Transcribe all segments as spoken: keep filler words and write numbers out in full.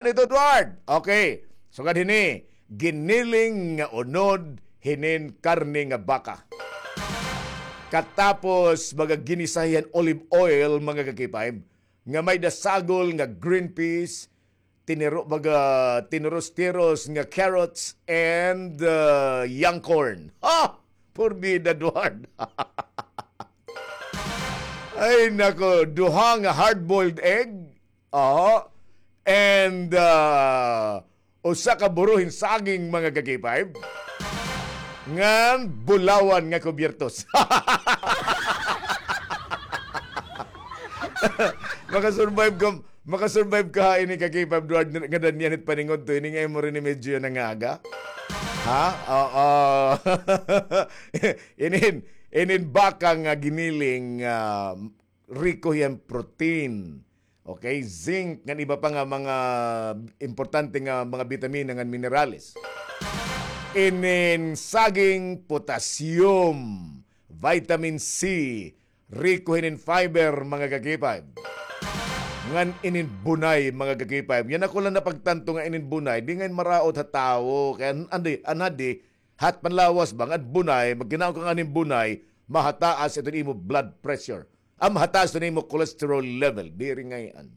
Ito, Edward. Okay. Sugad hini, giniling nga unod hinin karne nga baka. Katapos, mga ginisa hiya hin olive oil, mga ka-K five, nga may-ada sagol nga green peas, tiniro-, mga tinuros-tiros nga carrots, and, uh, young corn. Ha! Porbida, Edward. Ay, nako, duha nga hard-boiled egg, oo. And, ah, usa ka buro hin saging, mga ka-K five. Ngan bulawan nga kubyertos. Makasurvive ka, makasurvive ka ha ini, ka-K five, Edward, nga danyan it paningudto, ini nga imo rin medyo nangaga? Ha? Oo. Inin, inin baka nga giniling, ah, riko hiya hin protein. Okay, zinc, ngan iba pa nga mga importante nga mga bitamina ngan minerales. Inin saging, potassium, vitamin C, riko hinin fiber, mga ka-K five. Ngan inin bunay, mga ka-K five. Yana ko la napagtanto nga inin bunay, di ngay-an maraot ha tawo. Kay an-, andi, anadi, hat panlawas ba, ngan bunay, magkinaon ka ngan hin bunay, mahataas iton imo blood pressure. Ah, mahataas iton imo cholesterol level. Diri ngay-an.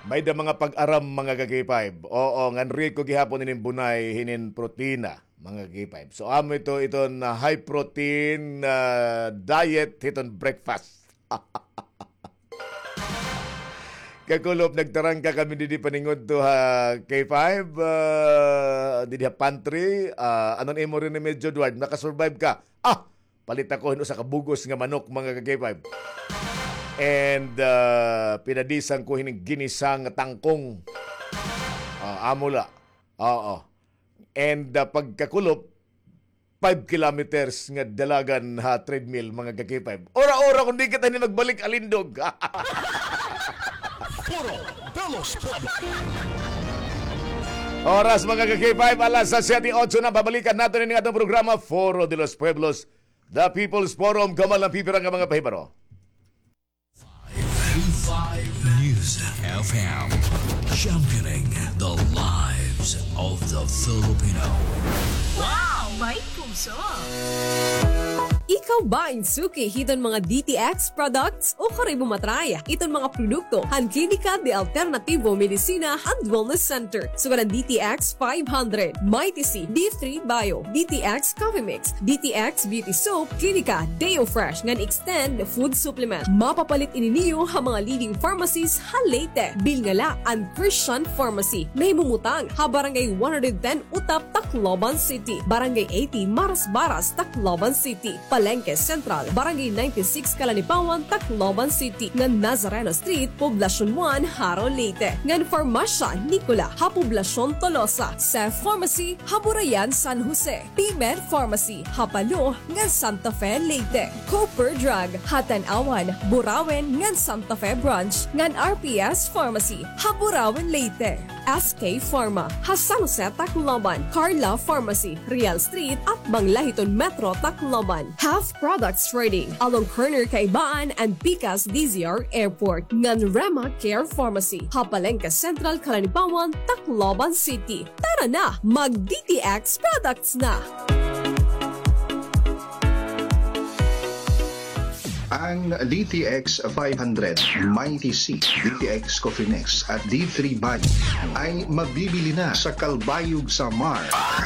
May-ada mga pag-aram, mga ka-K five. Oo, ngan riko gihapon inin bunay, hinin protina, mga ka-K five. So, amo ito, iton, ah, high protein, ah, diet, hiton breakfast. Kakulop, nagtarangka kami didi paningudto ha K five, ah, didi ha pantry. Ah, ano an imo rin medyo, Edward? Nakasurvive ka? Ah, palit ako hin usa ka bug-os nga manok, mga ka-K five. And, ah, pinadisan ko hin ginisa nga tangkong. Ah, amo la. Oo. And, ah, pagkakulop, five kilometers nga dalagan ha treadmill, mga ka-K five. Ora-ora, kung di kita ni magbalik, alindog. Foro de los Pueblos. Oras, mga ka-K five, alas siyete otso na. Babalikan naton ini nga atong programa, Foro de los Pueblos, The People's Forum, kauban an pipira nga mga pahibaro. News F M, championing the lives of the Filipino. Wow! May puso! Ikaw ba in suki hiton mga D T X products o kari mo matry iton mga produkto han Klinika de Alternativo Medicina and Wellness Center? Sugad han D T X five hundred, Mighty C, D three Bio, D T X Coffee Mix, D T X Beauty Soap, Klinika, Deo Fresh, ngan Extend Food Supplement. Mapapalit ini niyo ha mga leading pharmacies ha Leyte. Bilnga la an Christian Pharmacy. Nahimumutang ha Barangay one hundred ten Utap, Tacloban City, Barangay eighty Marasbaras, Tacloban City, Palengke Central, Barangay ninety-six Kalanipawan, Tacloban City, ngan Nazareno Street, Poblacion one, Jaro, Leyte, ngan Farmacia Nicola ha Poblacion Tolosa, Seth Pharmacy ha Burayan, San Jose, P-Med Pharmacy ha Palo ngan Santa Fe, Leyte, Cooper Drug ha Tanauan, Burauen ngan Santa Fe Branch, ngan R P S Pharmacy ha Burauen, Leyte, S K Pharma ha San Jose, Tacloban, Carla Pharmacy, Real Street, atbang la hiton Metro Tacloban, Half Products Trading along corner Kaibaan and pikas D Z R Airport, ngan Rema Care Pharmacy ha Palengke Central, Kalanipawan, Tacloban City. Tara na, mag D T X products na! Ang D T X five hundred, Mighty C, D T X Coffee Mix at D three Bio ay mabibili na sa Calbayog, Samar.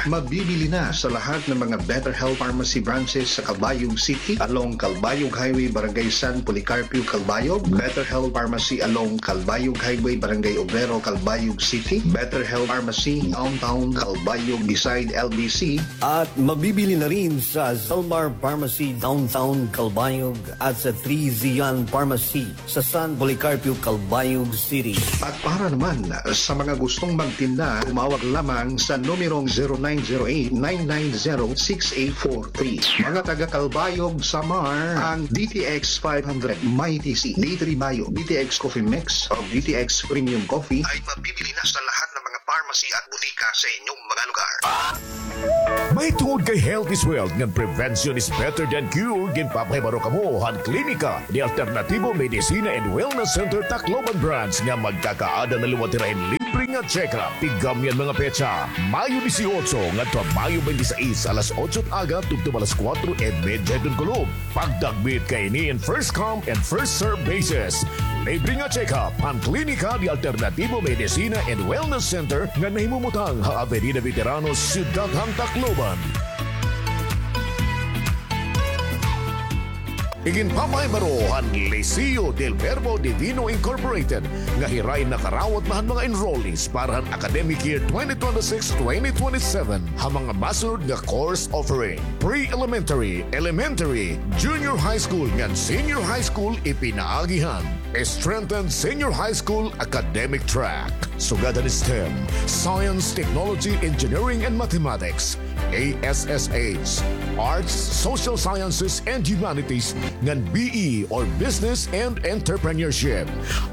Mabibili na sa lahat ng mga Better Health Pharmacy branches sa Calbayog City, along Calbayog Highway, Barangay San Policarpio, Calbayog, Better Health Pharmacy along Calbayog Highway, Barangay Obrero, Calbayog City, Better Health Pharmacy Downtown Calbayog beside L B C, at mabibili na rin sa Zalmar Pharmacy Downtown Calbayog at sa Three Zion Pharmacy sa San Policarpio, Calbayog City. At para naman sa mga gustong magtinda, tumawag lamang sa numerong zero nine zero eight, nine nine zero, six eight four three. Mga taga Calbayog, Samar, ang D T X five hundred, Mighty C, D three Bio, D T X Coffee Mix, o D T X Premium Coffee ay mabibili na sa lahat ng mga pharmacy at butika sa inyong mga lugar. Mahitungod kay health is wealth ngan prevention is better than cure, ginpapahibaro kamo han Klinika de Alternativo Medicina and Wellness Center Tacloban Branch nga magkakaada na liwat hira hin libre nga check-up. Tigam niyan mga petsa, Mayo dieciocho ngadto ha Mayo twenty-six, alas otso aga tubtob alas kuwatro y medya hiton kulop. Pagdagmit kay ini in first come and first serve basis. Libre nga check-up han Klinika de Alternativo Medicina and Wellness Center nga nahimumutang ha Avenida Veteranos, Syudad han Tacloban. Iginpapahibaro han Liceo del Verbo Divino Incorporated nga hira in nakarawat na han mga enrollees para han academic year twenty twenty-six twenty twenty-seven ha mga masunod nga course offering: pre-elementary, elementary, junior high school ngan senior high school ipinaagi han strengthened senior high school academic track, sugad han STEM, science, technology, engineering, and mathematics, A S S H, arts, social sciences, and humanities, ngan B E or business and entrepreneurship.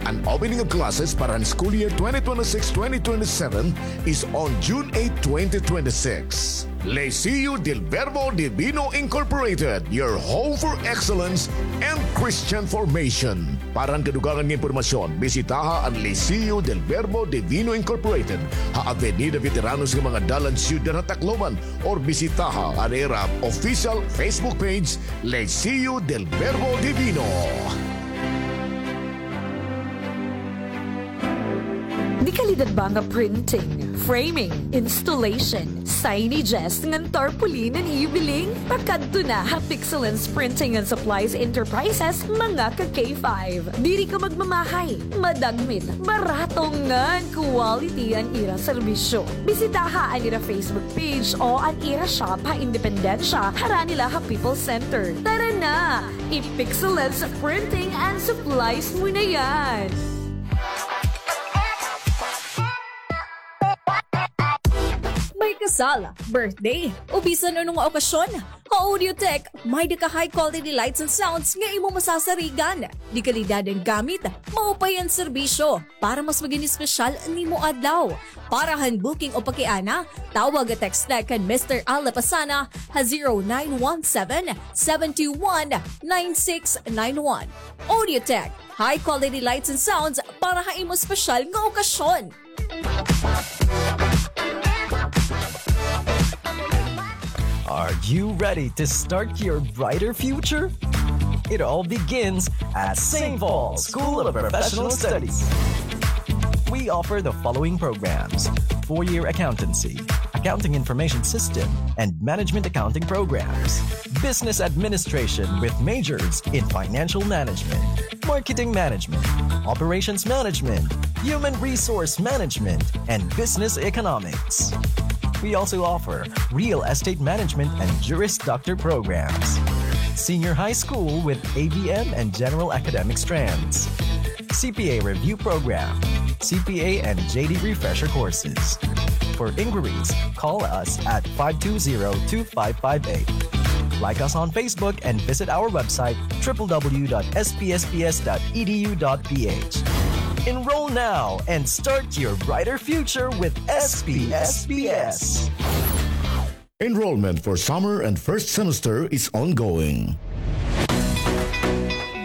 An opening of classes para han school year twenty twenty-six twenty twenty-seven is on June eight, twenty twenty-six. Liceo del Verbo Divino Incorporated, your home for excellence and Christian formation. Para han kadugangan nga impormasyon, bisitaha an Liceo del Verbo Divino Incorporated ha Avenida Veteranos nga mga dalan, Syudad han Tacloban, or bisitaha an ira official Facebook page, Liceo del Verbo Divino. Dekalidad ba nga printing, framing, installation, signages, ngan tarpaulin an iyo biling? Pakadto na ha Pixelens Printing and Supplies Enterprises, mga ka-K five. Diri ka magmamahay, madagmit, barato ngan quality an ira serbisyo. Bisitaha an ira Facebook page o an ira shop ha Independencia, harani la ha People's Center. Tara na! I-Pixelens Printing and Supplies mo na yan! May kasal, birthday, o bisan ano nga okasyon, ha Audiotech, may-ada ka high quality lights and sounds nga imo masasarigan. Dekalidad an gamit, maupay an serbisyo. Para mas magin espesyal an imo adlaw. Para han booking o pakiana, tawag o text na kan Mister Al Lapasana ha zero nine one seven, seven two one, nine six nine one. Audiotech, high quality lights and sounds para ha imo espesyal nga okasyon. Are you ready to start your brighter future? It all begins at Saint Paul School of Professional Studies. We offer the following programs: four-year accountancy, accounting information system, and management accounting programs, business administration with majors in financial management, marketing management, operations management, human resource management, and business economics. We also offer real estate management and Juris Doctor programs, senior high school with A B M and general academic strands, C P A review program, C P A and J D refresher courses. For inquiries, call us at five two zero, two five five eight. Like us on Facebook and visit our website, triple W dot S P S P S dot E D U dot P H. Enroll now and start your brighter future with S P S P S. Enrollment for summer and first semester is ongoing.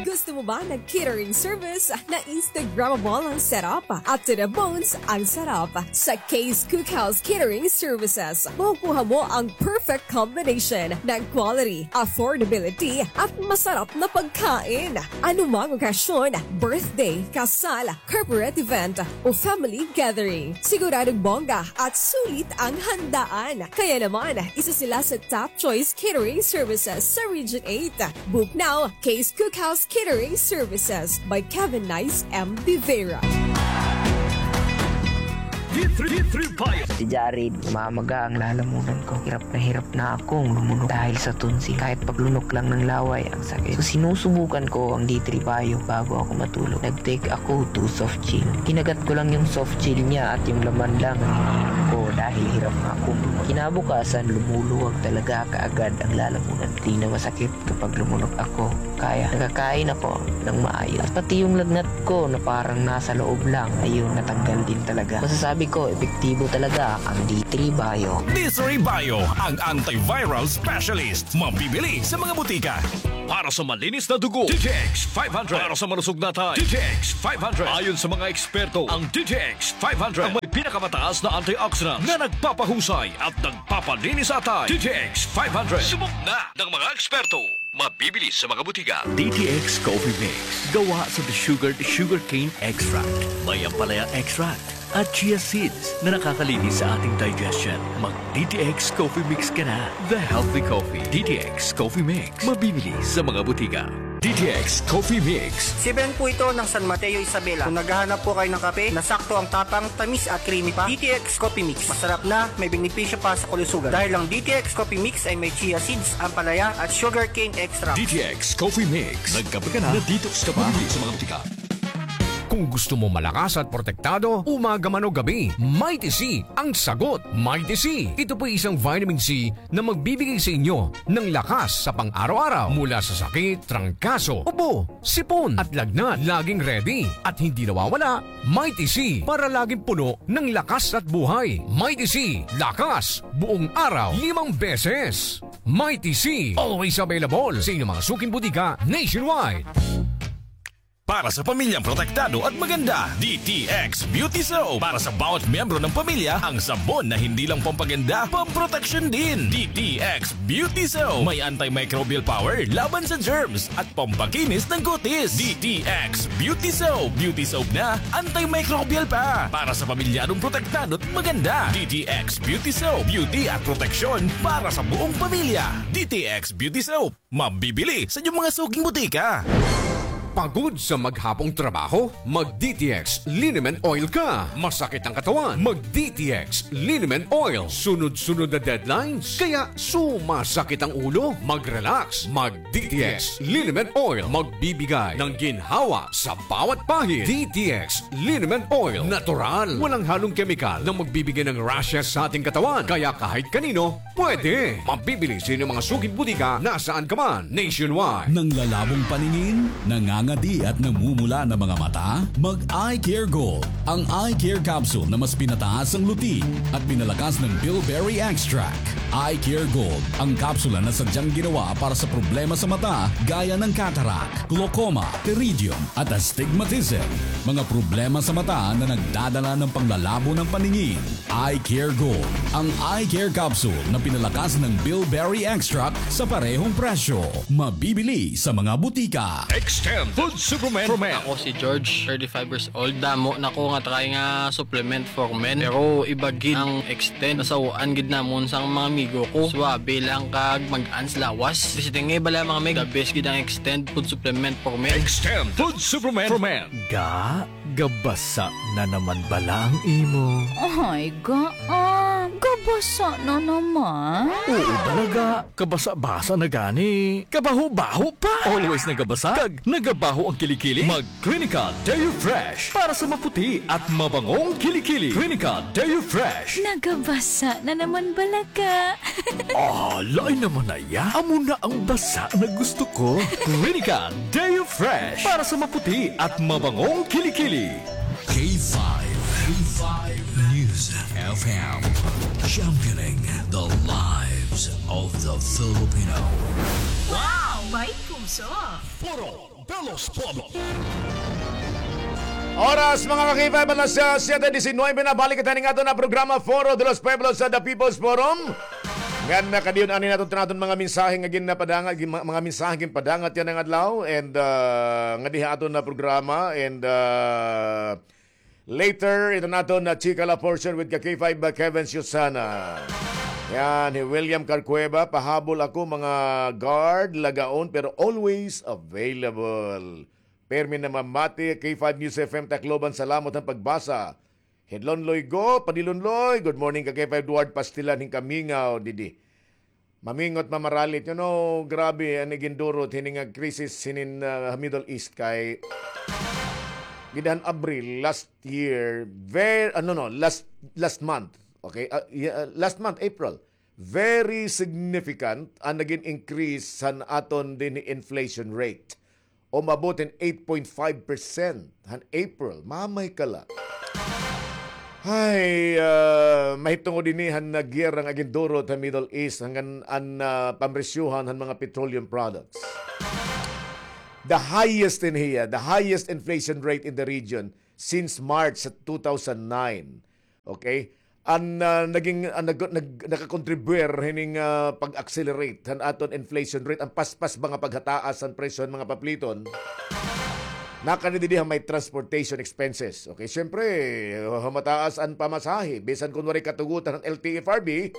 Gusto mo ba ng catering service na Instagrammable ang setup at to the bones ang sarap? Sa Kay's Cookhouse Catering Services, makukuha mo ang perfect combination ng quality, affordability, at masarap na pagkain. Anumang okasyon, birthday, kasal, corporate event, o family gathering, siguradong bongga at sulit ang handaan. Kaya naman, isa sila sa top choice catering services sa Region eight. Book now, Kay's Cookhouse Catering Services by Kevin Nice M. De Vera. D three, D three Bio. Si Jared, mamaga ang lalamunan ko. Hirap na hirap na akong lumunok dahil sa tonsil. Kahit paglunok lang ng laway, ang sakit. So, sinusubukan ko ang D three Bio bago ako matulog. Nag-take ako two soft gel. Kinagat ko lang yung soft gel niya at yung laman lang ang iniinom ko dahil hirap na akong lumunok. Kinabukasan, lumuluwag talaga kaagad ang lalamunan. Di na masakit kapag lumunok ako. Kaya nakakain ako ng maayos. At pati yung lagnat ko na parang nasa loob lang, ayun, natanggal din talaga. Masasabi ko, Epektibo talaga ang D three Bio. D three Bio, ang antiviral specialist. Mabibili sa mga butika. Para sa malinis na dugo, D T X five hundred. Para sa malusog na atay, D T X five hundred. Ayon sa mga eksperto, ang D T X five hundred ang may pinakamataas na antioxidant na nagpapahusay at nagpapalinis sa atay. D T X five hundred. Subok na ng mga eksperto. Mabibili sa mga butika. D T X Coffee Mix. Gawa sa desugared sugarcane extract. May ampalaya extract at chia seeds na nakakalinis sa ating digestion. Mag D T X Coffee Mix ka na. The healthy coffee. D T X Coffee Mix. Mabibili sa mga butika. D T X Coffee Mix. Si Ben po ito ng San Mateo, Isabela. Kung naghahanap po kayo ng kape na sakto ang tapang, tamis at creamy pa, D T X Coffee Mix. Masarap na, may benepisyo pa sa kalusugan. Dahil ang D T X Coffee Mix ay may chia seeds, ampalaya at sugarcane extract. D T X Coffee Mix. Nagkape ka na, na-detox ka pa. Mabibili sa mga butika. Kung gusto mo malakas at protektado, umaga man o gabi, Mighty C ang sagot. Mighty C. Ito po'y isang vitamin C na magbibigay sa inyo ng lakas sa pang-araw-araw mula sa sakit, trangkaso, ubo, sipon at lagnat. Laging ready at hindi nawawala, Mighty C para laging puno ng lakas at buhay. Mighty C, lakas buong araw, limang beses. Mighty C, always available sa inyong mga suking butika nationwide. Para sa pamilyang protektado at maganda, D T X Beauty Soap. Para sa bawat miyembro ng pamilya, ang sabon na hindi lang pampaganda, pamproteksyon din. D T X Beauty Soap. May antimicrobial power laban sa germs at pampakinis ng kutis. D T X Beauty Soap. Beauty soap na, antimicrobial pa. Para sa pamilyadong protektado at maganda. D T X Beauty Soap. Beauty at proteksyon para sa buong pamilya. D T X Beauty Soap. Mabibili sa inyong mga suking butika. Pagod sa maghapong trabaho? Mag D T X Liniment Oil ka. Masakit ang katawan? Mag D T X Liniment Oil. Sunod-sunod na deadlines? Kaya sumasakit ang ulo? Mag-relax. Mag D T X Liniment Oil. Magbibigay ng ginhawa sa bawat pahid. D T X Liniment Oil. Natural. Walang halong kemikal na magbibigay ng rashes sa ating katawan. Kaya kahit kanino, pwede. Mabibili sa inyong mga suking butika nasaan ka man, nationwide. Nanglalabong paningin, nangangadi at namumula na mga mata? Mag Eye Care Gold. Ang Eye Care Capsule na mas pinataas ang luti at pinalakas ng bilberry extract. Eye Care Gold, ang kapsula na sadyang ginawa para sa problema sa mata gaya ng cataract, glaucoma, pterygium, at astigmatism. Mga problema sa mata na nagdadala ng panglalabo ng paningin. Eye Care Gold, ang eye care capsule na pinalakas ng bilberry extract sa parehong presyo. Mabibili sa mga butika. Extend Food Supplement for Men. Ako si George, thirty-five years old. Damo na ko nga try nga supplement for men. Pero iba gid ang Extend. Nasawaan gid namon sang mga amigo ko. Suabe lang kag mag-ans lawas. Bisi tingay bala mga meg. The best gid ang Extend Food Supplement for Men. Extend Food Supplement for Men. Ga, gabasa na naman bala ang imo? Ay, ga, ah, gabasa na naman. Oo, bala ga, kabasa-basa na gani. Kabaho-baho pa. Always nagabasa, kag nagabaho ang kilikili. Mag Clinical Deo Fresh para sa maputi at mabangong kilikili. Clinical Deo Fresh. Nagabasa na naman bala ka. Ah, lain naman na iya. Amo na ang basa na gusto ko. Clinical Deo Fresh para sa maputi at mabangong kilikili. K five, K five News F M, championing the lives of the Filipino. Wow! May puso! Foro de los Pueblos. Oras, mga ka-K five, alas, ah, siyete disinuybe na. Balik kita ning aton na programa, Foro de los Pueblos, sa The People's Forum. Ngan nakadiyon ani naton, aton mga mensahe nga ginpadangat, gin-, mga mensahe ginpadangat yana nga adlaw. And, ah, ngadi ha aton na programa. And, ah, later, ito naton na chika la portion with ka K five, ah, Kevin Susana. Yan, hi William Carcueva, pahabol ako, mga guard, lagaon, pero always available. Permi namamati, K five News F M Tacloban, salamat han pagbasa. Hidlon Loy Go, Padilon Loy, good morning ka K five Edward Pastilan, hin kamingaw didi. Mamingot, mamaralit, you know, grabe an igindurot hini nga krisis hinin, ah, Middle East kay gid han Abril last year, ver-, ano, no, last, last month, okay? Ah, y-, ah, last month, April, very significant an nagin increase han aton dinhi inflation rate. Umabot hin eight point five percent han April. Mamay ka la. Hay, ah, mahitungod ini han giyera nga gindurot ha Middle East, hanggan an, ah, pamresyuhan han mga petroleum products. The highest in hiya, the highest inflation rate in the region since March sa two thousand nine. Okay? An, ah, naging, an nag-, nag-, nakakontribuyar hining, ah, pag-accelerate han aton inflation rate, an paspas ba nga paghataas han presyo han mga papliton. Nakani didi ha may transportation expenses. Okay, siyempre, ah, mataas an pamasahe. Bisan kun waray katugutan han L T F R B,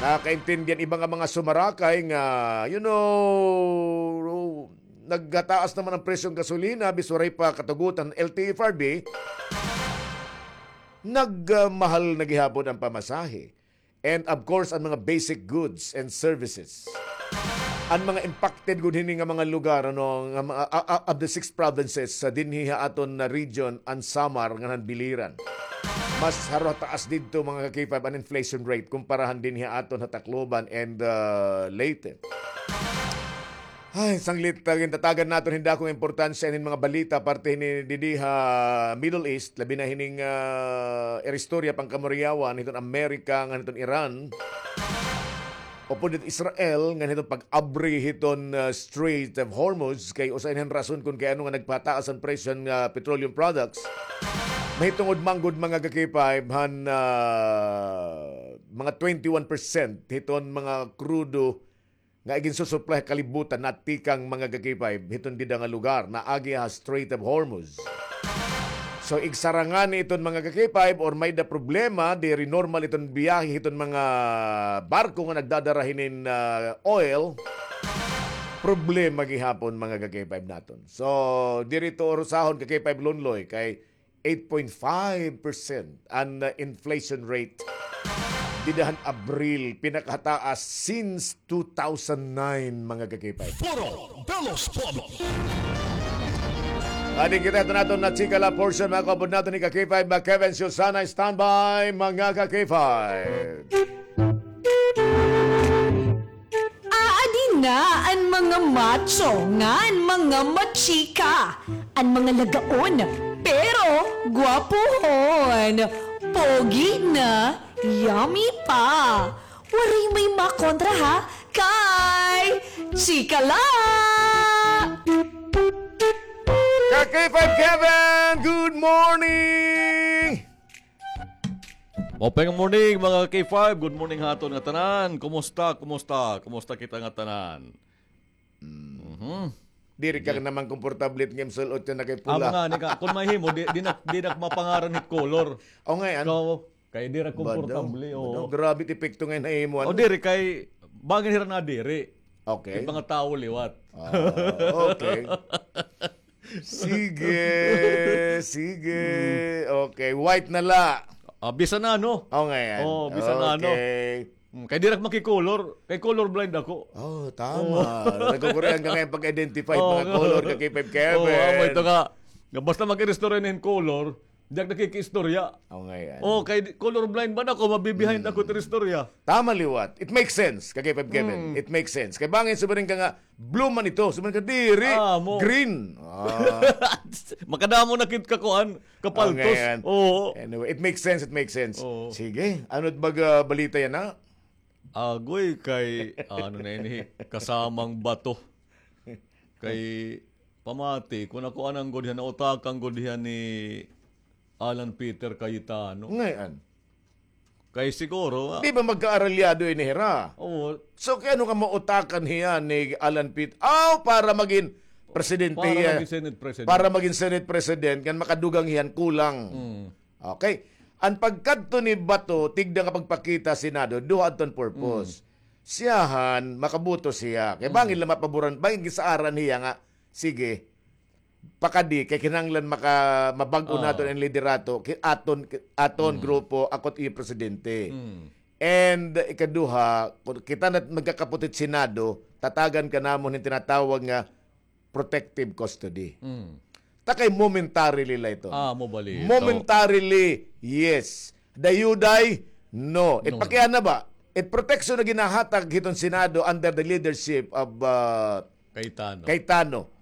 nakakaintindi an iba nga mga sumarakay nga, you know, naghataas naman an presyo han gasolina, bis waray pa katugutan han L T F R B, nagmahal na gihapon an pamasahe. And of course, an mga basic goods and services. An mga impacted gud hini nga mga lugar, ano, nga mga, a-, a-, of the six provinces sa dinhi ha aton na region, an Samar, nganhan Biliran. Mas haro taas didto, mga ka-K five, an inflation rate kumpara han dinhi ha aton ha Tacloban and, uh, Leyte. Ay, sanglit, ah, gintatagan naton hin dakong importansya inin mga balita parte hini didi ha Middle East, labi na hining, ah, iristorya pangkamuriyawan hiton Amerika ngan hiton Iran. Upod hit Israel ngan hiton pag-abri hiton, ah, Strait of Hormuz kay usa ini han rason kon kay ano nga nagpataas an presyo han, ah, petroleum products. Mahitungod man gud mga ka-K five han, ah, mga twenty-one percent hiton mga krudo nga iginsusuplay ha kalibutan natikang mga ka-K five hiton dida nga lugar, naagi ha Strait of Hormuz. So, igsara ngani iton mga ka-K five or may-ada problema, diri normal iton biyahe hiton mga barko nga nagdadara hinin, ah, oil, problema gihapon mga ka-K five naton. So, diri ito urusahon ka-K five Lonloy kay eight point five percent an, uh, inflation rate dida han Abril, pinakataas since two thousand nine, mga ka-K five. Foro de los Pueblos. Adi kita ito naton na chika la portion, mga kaupod naton ni ka-K five, mga Kevin, Susana, standby, mga ka-K five. Aadi na an mga macho ngan mga machika, an mga lagaon, pero gwapohon, pogi na, yummy pa. Waray may makontra ha, kay chika la! Ka-K five Kevin, good morning! Maupay nga morning, mga K five. Good morning ha aton ngatanan. Kumusta? Kumusta? Kumusta kita ngatanan? Mhm. Diri ka naman komportable nga sul-ot nga kay pula. Amo ngani ka, kon mahimo, di, di na, di na mapangaran hit color. O, ngay-an. Ikaw, kay diri komportable, o. Grabe it epekto nga nahimo, ano? O, diri kay, bangin hira na diri. Okay. It mga tawo liwat. Ah, okay. Sige, sige. Okay, white na la. Ah, bisan ano? O, ngay-an. O, bisan ano. Okay. Mm, kay diri ak makikolor. Kay color blind ako. O, tama. Nagkukurian ka ngay-an pag-identify mga color ka, K five Kevin. O, amo ito nga. Nga basta mag-iristorya hin color, di ak nakikiistorya. O, ngay-an. O, kay color blind man ako, mabibihind ako it iristorya. Tama liwat. It makes sense, ka-K five Kevin. It makes sense. Kay bangin subarin ka nga, blue man ito. Subarin ka, diri. Green. Ah. Makadamo na kit kakuan, kapaltos. O, ngay-an. Oo. Anyway, it makes sense, it makes sense. Oo. Sige, ano it baga balita yana? Agoy, kay, ano na ini, kasamang bato. Kay, pamati, kon ako anan gud hiya, nautakan gud hiya ni Alan Peter Cayetano. Ngay-an. Kay siguro, ah. Di ba magkaaralyado ini hira? Oo. So, kay ano nga mautakan hiya ni Alan Peter? Aw, para magin presidente hiya. Para magin Senate President. Para magin Senate President, kan makadugang hiya hin kulang. Mm. Okay. An pagkadto ni Bato, tigda nga pagpakita Senado, duha adton purpose. Mm. Siyahan, makaboto siya. Kay bangin la mapaboran, bangin gisaaran hiya nga, sige, pakadi, kay kinahanglan maka-, mabag-o naton an liderato, ki-, aton, ki-, aton grupo, ako it iyo presidente. Mm. And ikaduha, kon kita na magkakapot hit Senado, tatagan ka namon hin tinatawag nga protective custody. Mm. Ta kay momentarily la ito. Ah, amo bala ito. Momentarily, yes. Dayuday, no. It pakiana ba? It protection na ginahatag hiton Senado under the leadership of, uh, Cayetano. Cayetano.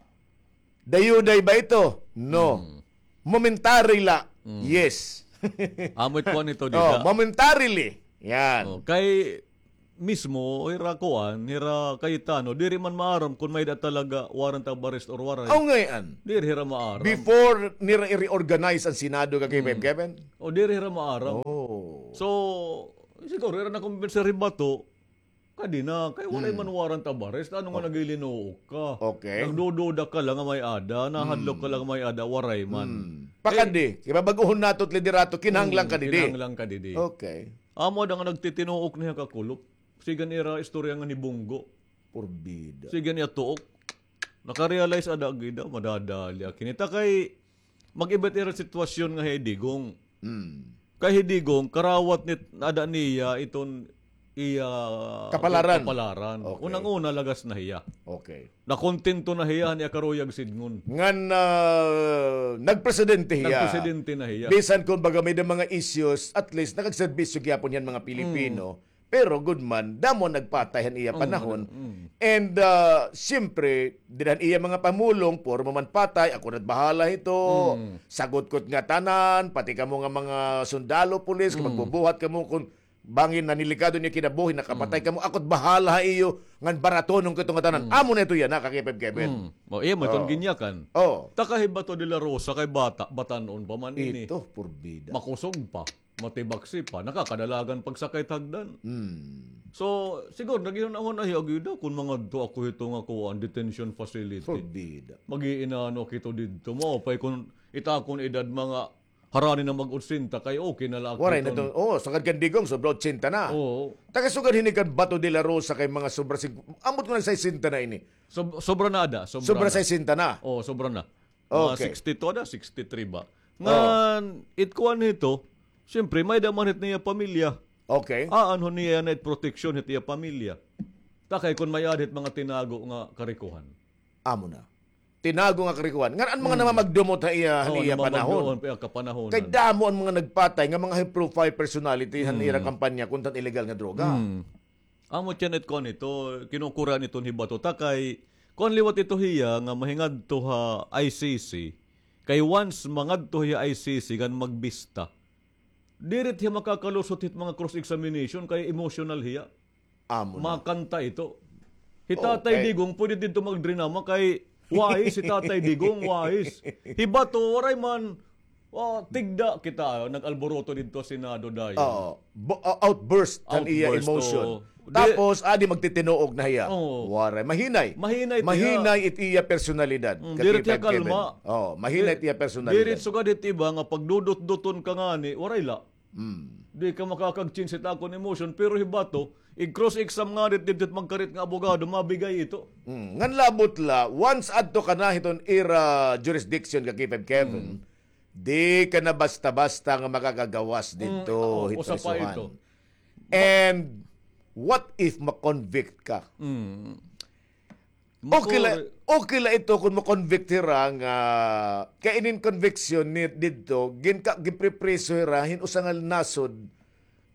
Dayuday ba ito? No. Mm. Momentary la. Mm. Yes. Amo it kuan ito, oh, dida. Momentarily. Yan. Oh, kay mismo, hira kuan, hira Cayetano, diri man maaram kung may-ada talaga warrant of arrest or waray. Aw, ngay-an. Diri hira maaram. Before nira i-reorganize an Senado, ka Kevin, Kevin? O, diri hira maaram. Oh. So, siguro, hira na kumbinse hira Bato, kadi na, kay waray man warrant of arrest, ano nga nagilinuok ka? Okay. Nagdududa ka la nga may-ada, nahadlok ka la nga may-ada, waray man. Hmm. Pakadi, kay babag-ohon nato it liderato, kinahanglan ka didi. Kinahanglan ka didi. Okay. Amo ada nga nagtitinuok niya ka kulop. Sige an ira istorya nga ni Bunggo. Porbida. Sige niya tuok. Nakarealize ada gida, madadali ak hinita kay mag-iba it ira sitwasyon nga hi Digong. Hmm. Kay hi Digong, karawat nit ada niya iton iya kapalaran. Kapalaran. Okay. Unang-una, lagas na hiya. Okay. Nakontento na hiya han iya karuyag sidngon. Ngan, ah, nagpresidente hiya. Nagpresidente na hiya. Bisan kon baga may-ada mga issues, at least nakagserbisyo gihapon hiya han mga Pilipino. Mm. Pero good man, damo nagpatay han iya panahon. Mm. And, ah, siyempre, dida han iya mga pamulong, puro man patay, ako na't bahala hito. Mm. Sagot ko it ngatanan, pati kamo nga mga sundalo, pulis, kung magbubuhat kamo, kung bangin nanilikado niyo kinabuhi, nakapatay kamo, ako't bahala ha iyo, ngan baratonon ko ito ngatanan. Mm. Amo na ito yana, ka Kevin. Mm. O, iya mo iton ginyakan. Oh. Ta ka hi Bato de la Rosa kay bata, batan-on pa man ini. Ito, porbida. Makusog pa, matibaksi pa, nakakadalagan pagsakay hit hagdan. Mm. So, siguro, naghihunahuna hiya, gida, kun mangadto ako hito nga kuan, detention facility. Porbida. Mag-iinano kita didto. Maupay kun it akon edad mga harani na mag-otsenta kay okay na la ak. Waray na iton. Oo, sugad kan Digong, sobra otsenta na. Oo. Ta ka sugad hini kan Bato de la Rosa kay mga sobra sing-, ambot ko nag-sesenta na ini. Sob-, sobra na ada, sobra na. Sobra sesenta na. Oo, sobra na. Mga okay. Sixty-two ada, sixty-three ba? Oo. Ngan, it kuan hito, siyempre, may-ada man hit niya pamilya. Okay. Aanhon niya na it proteksyon hit iya pamilya. Ta kay kun may-ada hit mga tinago nga karikohan. Amo na. Tinago nga karikohan. Ngan an mga namamagdumot ha iya, ha iya panahon. Oo, namamagdumot pa iya kapanahonan. Kay damo an mga nagpatay nga mga high-profile personality han ira kampanya kontra han illegal nga droga. Mm. Amo tiyan it kuan ito, kinukura niton hi Bato ta kay kuan liwat ito hiya nga mahingadto ha I C C. Kay once mangadto hiya I C C ngan magbista, diri hiya makakalusot hit mga cross-examination kay emotional hiya. Amo na. Makanta ito. Hi Tatay Digong, pwede didto magdrinama kay wahis hi Tatay Digong, wahis. Hi Bato, waray man. O, tigda kita, nag-alboroto didto ha Senado dayon. Oo. Bo-, o, outburst han iya emotion. Outburst, oo. Tapos, adi magtitinuog na hiya. Oo. Waray. Mahinay. Mahinay it iya. Mahinay it iya personalidad. Mm, diri hiya kalma. Oo, mahinay it iya personalidad. Diri sugad hit iba nga pagdudot-duton ka ngani, waray la. Mm. Di ka makakag-change hit akon emotion, pero hi Bato, ig-cross-exam ngani didto hit magkarit nga abogado, mabigay ito. Mm. Ngan labot la, once adto ka na hiton ira jurisdiction ka K five Kevin, di ka na basta-basta nga makakagawas didto hit prisuhan. Mm, oo, usa pa ito. And what if ma-convict ka? Mm. Okay la, okay la ito kun ma-convict hira nga, kay inin conviction ni didto, ginka-, ginpripriso hira hin usa nga nasod,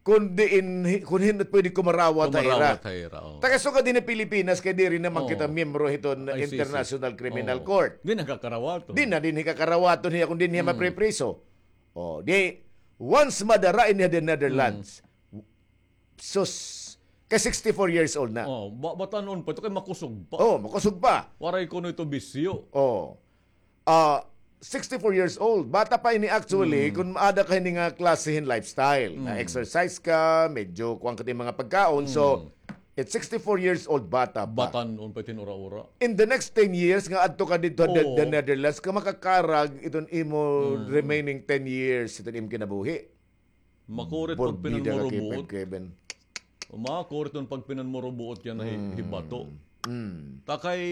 kun diin hi-, kun hin-o pwede kumarawat ha ira. Kumarawat ha ira, oo. Ta ka sugad dinhi Pilipinas, kay diri naman kita miyembro hiton International Criminal Court. Di na kakarawaton. Di na dinhi kakarawaton hiya kun dinhi hiya mapripriso. O, di, once madara ini ha the Netherlands, sus, kay sixty-four years old na. O, ba-, batan-on pa ito kay makusog pa. O, makusog pa. Waray kuno ito bisyo. O. Ah, sixty-four years old. Bata pa ini actually, kun maada ka hini nga klase hin lifestyle. Na-exercise ka, medyo kuan ka hin mga pagkaon. So, at sixty-four years old, bata pa. Batan-on pa it hin ura-ura. In the next ten years, nga adto ka didto ha the, the Netherlands, ka makakarag iton imo remaining ten years, iton imo kinabuhi. Makurit kon pinanmurubuot. Porbida ka, Kevin. Makurit kon pagpinanmurubuot yana hi, hi Bato. Mm. Ta kay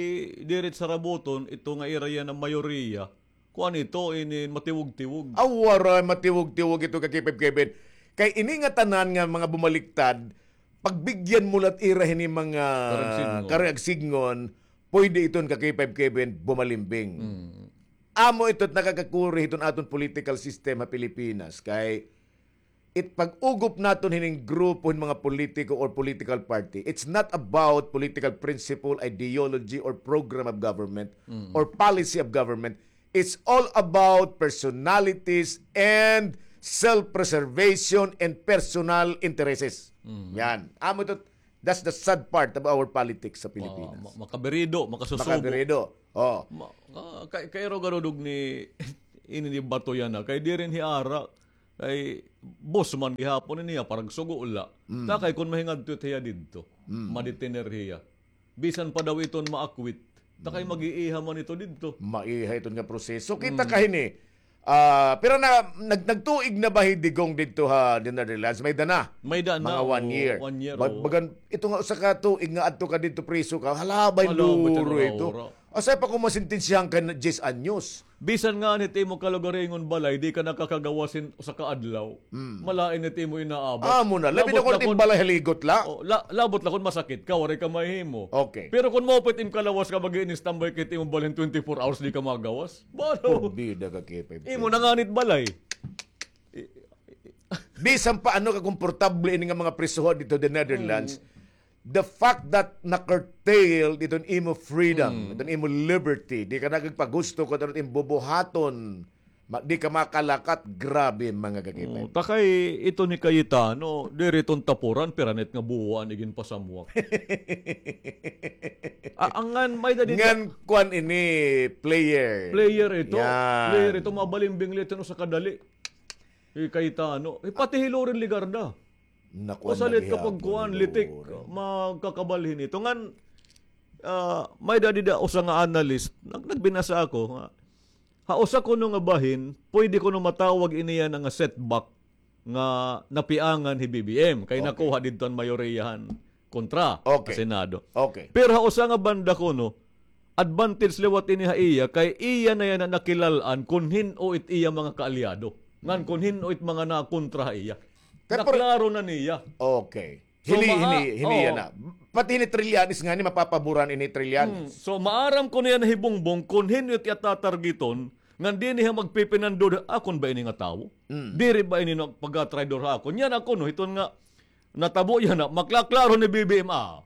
diri sarabuton, ito nga ira yana mayoriya, kuan ito, ini matiwog-tiwog. Aw, waray matiwog-tiwog ito ka K five Kevin. Kay ini nga tanan nga mga bumaliktad, pagbigyan mo la it ira hini mga karuyag sidngon, pwede iton ka K five Kevin bumalimbing. Mm. Amo ito it nakakakuri hiton aton political system ha Pilipinas. Kay it pag-ugop naton hining grupo hin mga politiko or political party, it's not about political principle, ideology, or program of government, or policy of government. It's all about personalities and self-preservation and personal interests. Mm. Yan. Amo ito, that's the sad part of our politics sa Pilipinas. Ma-, ma-, makabirido, makasusubo. Makabirido. Oh. Ma-, ah, kay, kay Rogarudog ni ini ni Bato yana, kay diri ini ara, kay boss man gihapon ini, ah, parang sugo la. Mm. Ta kay kun mahingadto hiya didto, mm, madetener hiya. Bisan pa daw iton maakwit. Ta kay, mm, mag-iiha man ito didto. Maiha iton nga proseso. Kita, mm, ka hini. Ah, pero na, nag-, nagtuig na ba hi Digong didto ha, the Netherlands? May da na. May da na, mga one, o, year. One year, bag-, o. Bagan, ito nga usa ka tuig nga adto ka didto, priso ka, halabay. Halabay duro ito. Asay pa kung masintensyahan ka na diyes anyos. Bisan nga it imo kalugaringon balay, di ka nakakagawas hin usa ka adlaw. Mm. Malain it imo inaabot. Amo na, labi na kun it im balay haligot la. O, la-, labot la kun masakit ka, waray ka mahimo. Okay. Pero kun maupay it im kalawas ka, mag-i-standby ka hit imo balay hin twenty-four hours, di ka magawas. Balo. Porbida ka, K five. Imo na ngani it balay. Bisan pa ano kakomportable ini nga mga prisoha didto the Netherlands, mm, the fact that na-curtail iton imo freedom, mm, iton imo liberty, di ka nakagpagusto kun ano it im bubuhaton, ma-, di ka makalakat, grabe, mga kakipay. O, ta kay ito ni Cayetano, diri iton tapuran, pira na it nga buwan iginpasamwak. A-, angan, may da di. Ngan kuan ini, player. Player ito. Yan. Player ito, mabalimbing la ito, no, sa kadali. Hi Cayetano. Eh, pati hi Loren Legarda. Nakuan usa la ito gihapon kapagkuan, ni litik, Loren. Magkakabalhin ito. Ngan, ah, may da dida usa nga analyst, nag-, nagbinasa ako nga, ha usa kuno nga bahin, pwede kuno matawag ini yana nga setback nga napiangan hi B B M, kay, okay, nakuha didto an mayoriya han kontra, okay, sa Senado. Okay. Pero ha usa nga banda kuno, advantage liwat ini ha iya, kay iya na yana nakilal-an kun hin-o it iya mga kaalyado. Ngan kun hin-o it mga nakontra ha iya. Kay por- Naklaro na niya. Okay. So, hini, maa-, hini, hini, oo, yana. Pati hini Trillanes ngani, mapapaboran ini Trillanes. Hmm. So, maaram kuno yana hi Bongbong kun hin-o it iya tatargeton, ngan dinhi ha magpipinandod, akon ba ini nga tawo? Hmm. Diri ba ini nga pagkatraidor ha akon? Yana kuno, hiton nga natabo yana, maklaklaro ni B B M, ah.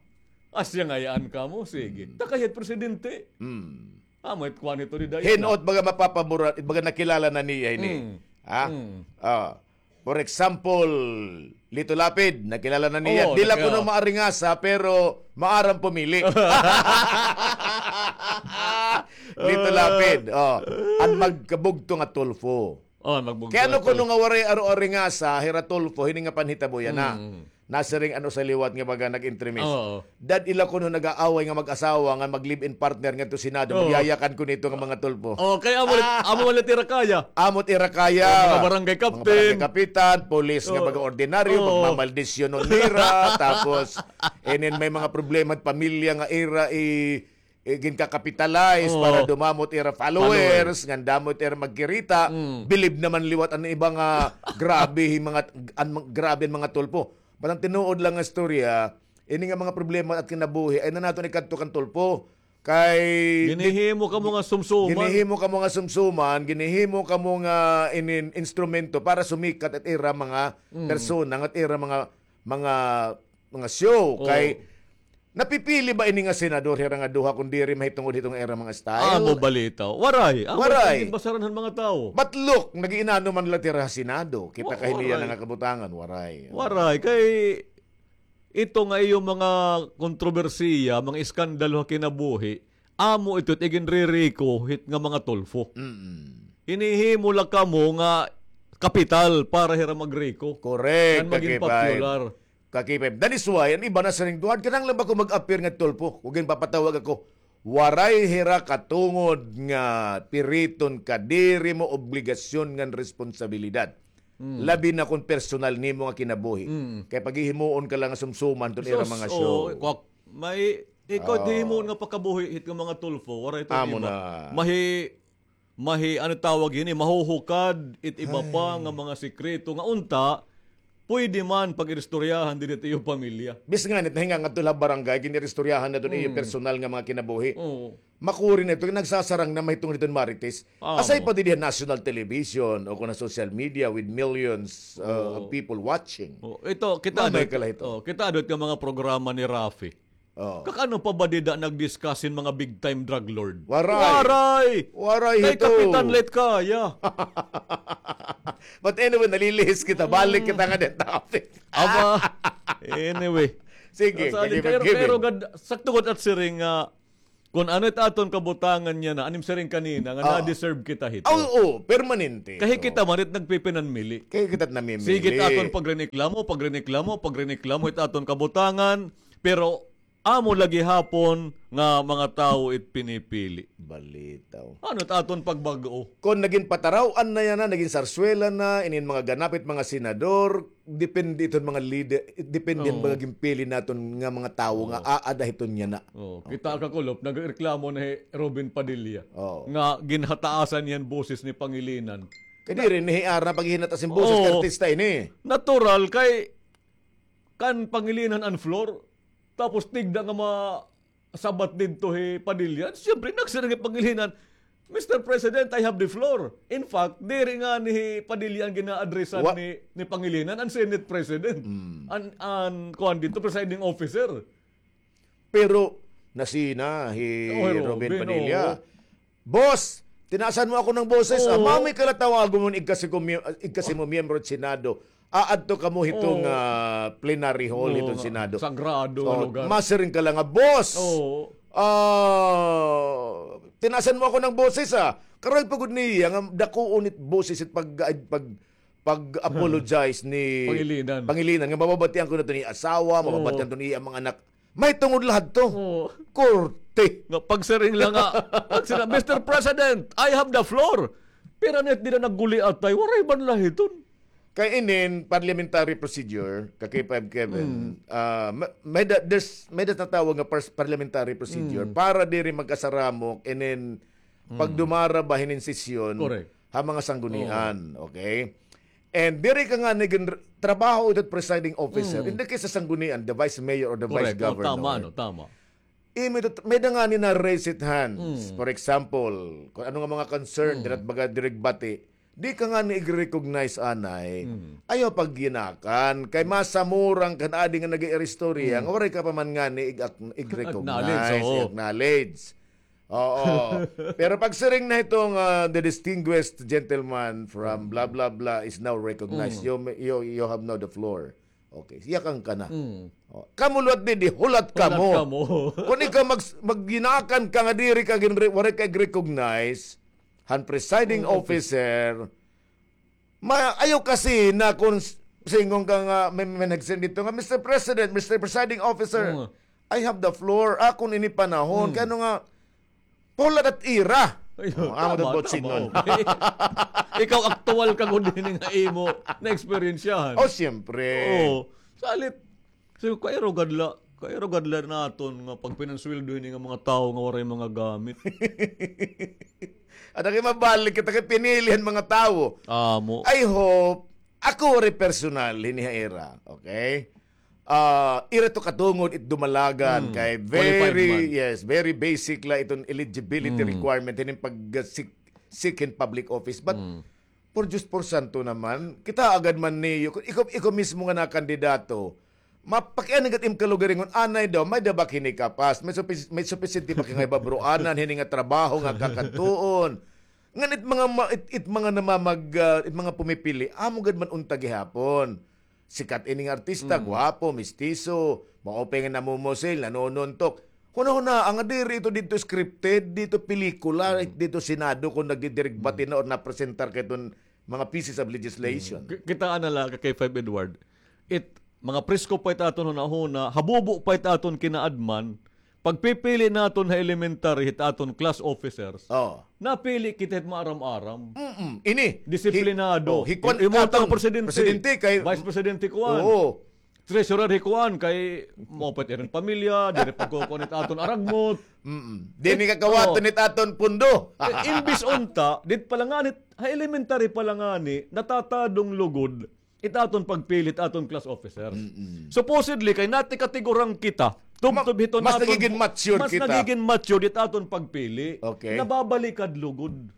Asya ngay-an kamo, sige. Hmm. Ta kay hit presidente. Hmm. Amo it kuan hito dida yana. Hin-o it baga mapapaboran, it baga nakilala na niya hini. Mm. Ha? Mm. Ah. For example, Lito Lapid, nakilala na niya. Oo, diri la kuno maaringasa, pero maaram pumili. Lito Lapid, oh. An magkabugto nga Tulfo. Oh, magbugto. Kay ano kuno nga waray aro-aringasa, hira Tulfo, hini nga panhitabo yana. Mm. Nasiring ano sa liwat nga baga nag-entremis. Oo. Dad ila kuno nag-aaway nga mag-asawa nga mag-live-in partner ngadto Senado, oo, magyayakan kuno ito nga mga Tulfo. Oh, kay amo, ah, amo man la it ira kaya. Amo it ira kaya. Oh, mga barangay captain. Mga barangay kapitan, pulis nga, oo, baga ordinaryo, oo, magmamaldisyonon nira, tapos, and then may mga problema it pamilya nga ira i- eh, ginkakapitalize, oo, para dumamo it ira followers, followers, ngan damo it ira magkirita, mm, bilib naman liwat an iba nga grabe hi mga, an, grabe an mga Tulfo. But an tinuod lang nga istorya, ini nga mga problema at kinabuhi, ay na naton ikadto kan Tulfo. Kay ginihimo kamo nga sumsuman. Ginihimo kamo nga sumsuman, ginihimo kamo nga inin-, instrumento para sumikat it ira mga, mm, persona, ngan it ira mga, mga, mga show. Oo. Kay napipili ba ini nga senador hira nga duha kun diri mahitungod hiton ira mga style? Amo balita. Waray. Amo, waray. It basaran han mga tawo. But look, nag-iinano man la it ira ha Senado. Kita, wa-, ka hini yana nga kabutangan, waray. Waray. Kay ito nga iyo mga kontrobersiya, mga iskandalo ha kinabuhi, amo ito it iginririko hit nga mga Tulfo. Mm-mm. Hinihimo la kamo nga kapital para hira magriko. Correct, ngan maging popular. Ka-K five. That is why, an iba nasiring, "Duha, kinahanglan ba ko mag-appear nga Tulfo? Kung ginpapatawag ako." Waray hira katungod nga piriton ka, diri mo obligasyon ngan responsabilidad. Mm. Labi na kon personal nimo nga kinabuhi. Mm. Kay paghihimuon ka lang nga sumsuman ton ira mga show. Sus, oh, kwak-, may, ikaw, oh, hihimuon nga pakabuhi hit nga mga Tulfo, waray ton iba. Amo na. Mahi-, mahi-, ano tawag hini, mahuhukad it iba pa nga mga sikreto nga unta, pwede man pag-iristoryahan diri it iyo pamilya. Bisan ngani it nahinga ngadto la ha barangay, gin-iristoryahan na ton iyo personal nga mga kinabuhi. Oo. Makuri na ito, nagsasarang na mahitungod hiton Marites. Amo. Aside pa didi ha national television o kon ha social media with millions, uh, of people watching. Oo. Ito, kita adto, oh, kita adto nga mga programa ni Raffy. Oh. Kakano pa ba dida nag-discuss hin mga big time drug lord? Waray. Waray! Waray hito. Kay kapitan la it kaya. But anyway, nalilihis kita. Balik kita ngada topic. Aba, anyway. Sige, pero, pero gad, sakto gud at siring nga, kun ano it aton kabutangan yana, an im siring kanina, nga na-deserve kita hito. Oo, permanente. Kay kita man it nagpipinanmili. Kay kita namimili. Sige it aton pagreneklamo, pagreneklamo, pagreneklamo, it aton kabutangan, pero amo la gihapon nga mga tawo it pinipili. Balitaw. Ano it aton pagbag-o? Kon nagin pataraw-an na yana, nagin sarswela na, inin mga ganap it mga senador, depende iton mga leader, depende hin mga ginpili naton nga mga tawo nga aada hiton yana. Oo. Kita ka, Kulop, nagreklamo na hi Robin Padilla nga ginhataasan niya an boses ni Pangilinan. Kay diri ni hiara paghinataas hin boses kay artista ini. Natural kay kan Pangilinan an floor. Tapos tigda nga masabat didto hi Padilla. Siyempre, nagsiring hi Pangilinan, "Mister President, I have the floor." In fact, diri ngani hi Padilla an gina-addressan ni, ni Pangilinan, an Senate President. An, an, kuan didto, presiding officer. Pero nasina hi Robin Padilla. Boss, tinaasan mo ako ng boses. Ah, mao may kalatawagon mo igkasi ko mi-, igkasi mo miyembro sa Senado. Aadto kamo hitong, ah, plenary hall hitong Senado. Sagrado nga lugar. Masiring ka lang nga, "Boss, ah, tinaasan mo ako ng boses, ah." Karay pa gud niya nga dakuon it boses it pag, pag, pag-apologize ni Pangilinan. Pangilinan nga mababatian ko na to ni asawa, mababatian to ni iyang mga anak. May tungod la hadto. Oo. Korte. Nga pagsiring la nga, pagsiring, "Mister President, I have the floor." Pero nit dida nagguliatay, waray man la hiton. Kay inin parliamentary procedure, ka K five Kevin, ah, ma-, may da-, there's, may da-, tinatawag nga pers-, parliamentary procedure para diri magkasaramok, inin pagdumara ba hinin sesyon ha mga sanggunian, okay? And diri ka ngani gin-, trabaho ito presiding officer. In the case sa sanggunian, the vice mayor or the vice governor. Tama, no, tama. Imo ito, may da ngani na-raise it hands. For example, kung ano nga mga concern, dira't baga diri't bati, di ka ngani ig-recognize anay. Ayaw pagyinakan. Kay masamurang kan adi nga nag-iiristorya, nga waray ka pa man ngani ig-, ig-recognize, i-acknowledge. Oo. Pero pagsiring na itong, ah, the distinguished gentleman from blah, blah, blah is now recognized. You may, you, you have now the floor. Okay, yakan ka na. Oh, kamo liwat didi, hulat kamo. Hulat kamo. Kung ikaw mag-, magyinakan ka nga diri ka gin-, waray ka recognize, han presiding officer, Ma-, ayaw kasi na kung s-, singon ka nga, may, may nag-send dito nga, "Mister President, Mister Presiding Officer, I have the floor." Akon ini panahon, kay ano nga, pula dat ira. Ay, oh, amo tama, dat bot tama, singon. Okay. Ikaw, aktual ka gud hini nga imo na-eksperyensyahan. Oh, siyempre. Oo. Salit, So, kairo gad la, kairo gad la naton nga pagpinansweldo hini nga mga tawo nga waray mga gamit. Ada kay mabalik kita kay pinili han mga tawo. Amo. I hope, ako waray personal, hini ha ira, okay? Ah, ira to katungod it dumalagan kay very, yes, very basic la iton eligibility requirement hini pag, ah, seek, seek hin public office. But por Diyos, por santo naman, kita agad man niyo, ikaw, ikaw mismo nga nakandidato, mapakiana gad im kalugaringon, anay daw, may da ba kini kapas, may supis-, may supisyente ba kini nga babroanan, hini nga trabaho nga kakadtuon. Ngan it mga ma-, it, it mga namamag-, ah, it mga pumipili, amo gad man unta gihapon. Sikat ini nga artista, gwapo, mistiso, maupay nga namumusil, nanununtok. Hunahunaa nga diri ito didto scripted, didto pelikula, didto Senado kon nagdidiregbati na or napresentar ka iton mga pieces of legislation. Ki-, kitaa na la ka K five Edward. It, mga presko pa it aton hunahuna, habubo pa it aton kinaadman, pagpipili naton ha elementary, hit aton class officers. Oo. Napili kita hit maaram-aram. Mm-mm. Ini. Disiplinado. Hi-, oh, hi kuan, imo atong presidente. Presidente kay vice presidente kuan. Oo. Treasurer hi kuan kay maupay iring pamilya, diri pagkukuan it aton aragmot. Mm-mm. Diri kakawaton it aton pundo. Eh, imbis unta, dit pa la ngani, ha elementary pa la ngani, natatadong lugod it aton pagpili it aton class officers. Mm-mm. Supposedly, kay nati katigurang kita, tubtob hiton mas aton, nagigin matured mas kita. Nagigin matured it aton pagpili. Okay. Nababalikad lugod.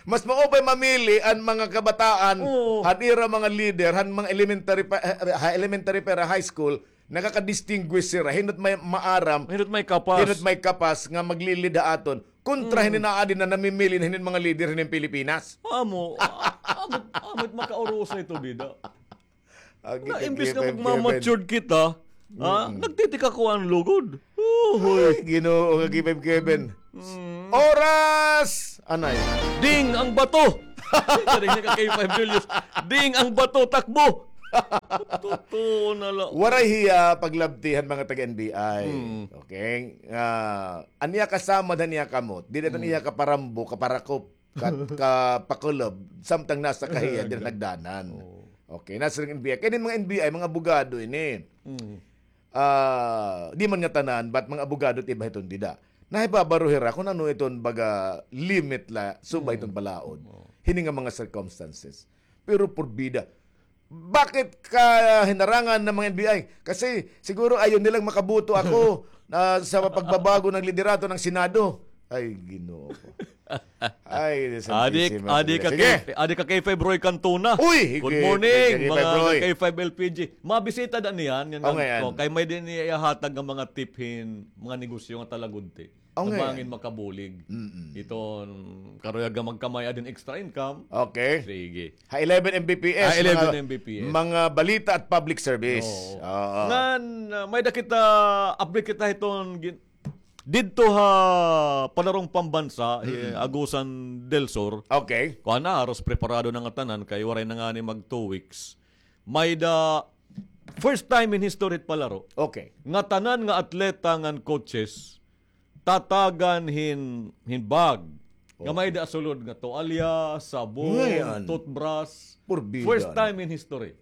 Mas maupay mamili an mga kabataan, oo, han ira mga leader, han mga elementary pa, ha elementary pa, high school, Nakaka-distinguish sira. Hin-o it may maaram, Hin-o it may kapas. Hin-o it may kapas nga maglilid ha aton. Kontra hinin aadi na namimili na hinin mga lider hinin Pilipinas. Amo, a-, amo, amo it makaurusa ito, dida. Na, imbis nga magmamatured kita, ha? Nagtitikakuan lugod. Uy. Ay, Ginoo, nga K five Kevin. Oras! Anay. Ding ang bato! Ding ang bato, takbo! Totoo na la. Waray hiya paglabti han mga taga-N B I. Okay? Ah, an iya kasamad han iya kamot, diri an iya kaparambo, kaparakop, ka-, kapakulob, samtang nasa kahiya, diri nagdanan. Okay, nasa N B I. Kay inin mga N B I, mga abogado ini. Ah, di man ngatanan, but mga abogado it iba hiton dida. Nahibabaro hira kun ano iton baga limit la, subay iton balaod. Hini nga mga circumstances. Pero porbida, bakit ka hinarangan ng mga N B I? Kasi siguro ayaw nilang makaboto ako na sa pagbabago ng liderato ng Senado. Ay, Ginoo ko. Ay, Adik, Santisima adik ka Iglesia. Sige. K-, adik ka K five Roy Cantona. Uy, Good morning, K five mga Roy. K five L P G. Mabisita na niyan, yan Oh, nga, ngayon. Kay may din niya ihatag ng mga tip hin mga negosyo nga talagudti. Oh, Na ngayon. Bangin makabulig. Mm-mm. Ito, karuyag nga magkamay-a din extra income. Okay. Sige. Ha eleven M B P S, Ha eleven mga, M B P S. mga balita at public service. Oo. Oo. Ngan, ah, may da kita, update kita hiton gin-, didto ha Palarong Pambansa, eh, Mm-mm. Agusan del Sur. Okay. Kuan na, haros preparado na ngatanan, kay waray na ngani mag two weeks. May da, first time in history it palaro. Okay. Ngatanan nga atleta ngan coaches, tatagan hin, hin bag. Nga may da sulod nga toalya, sabon, Ngayon. toothbrush. Purbida First na. time in history.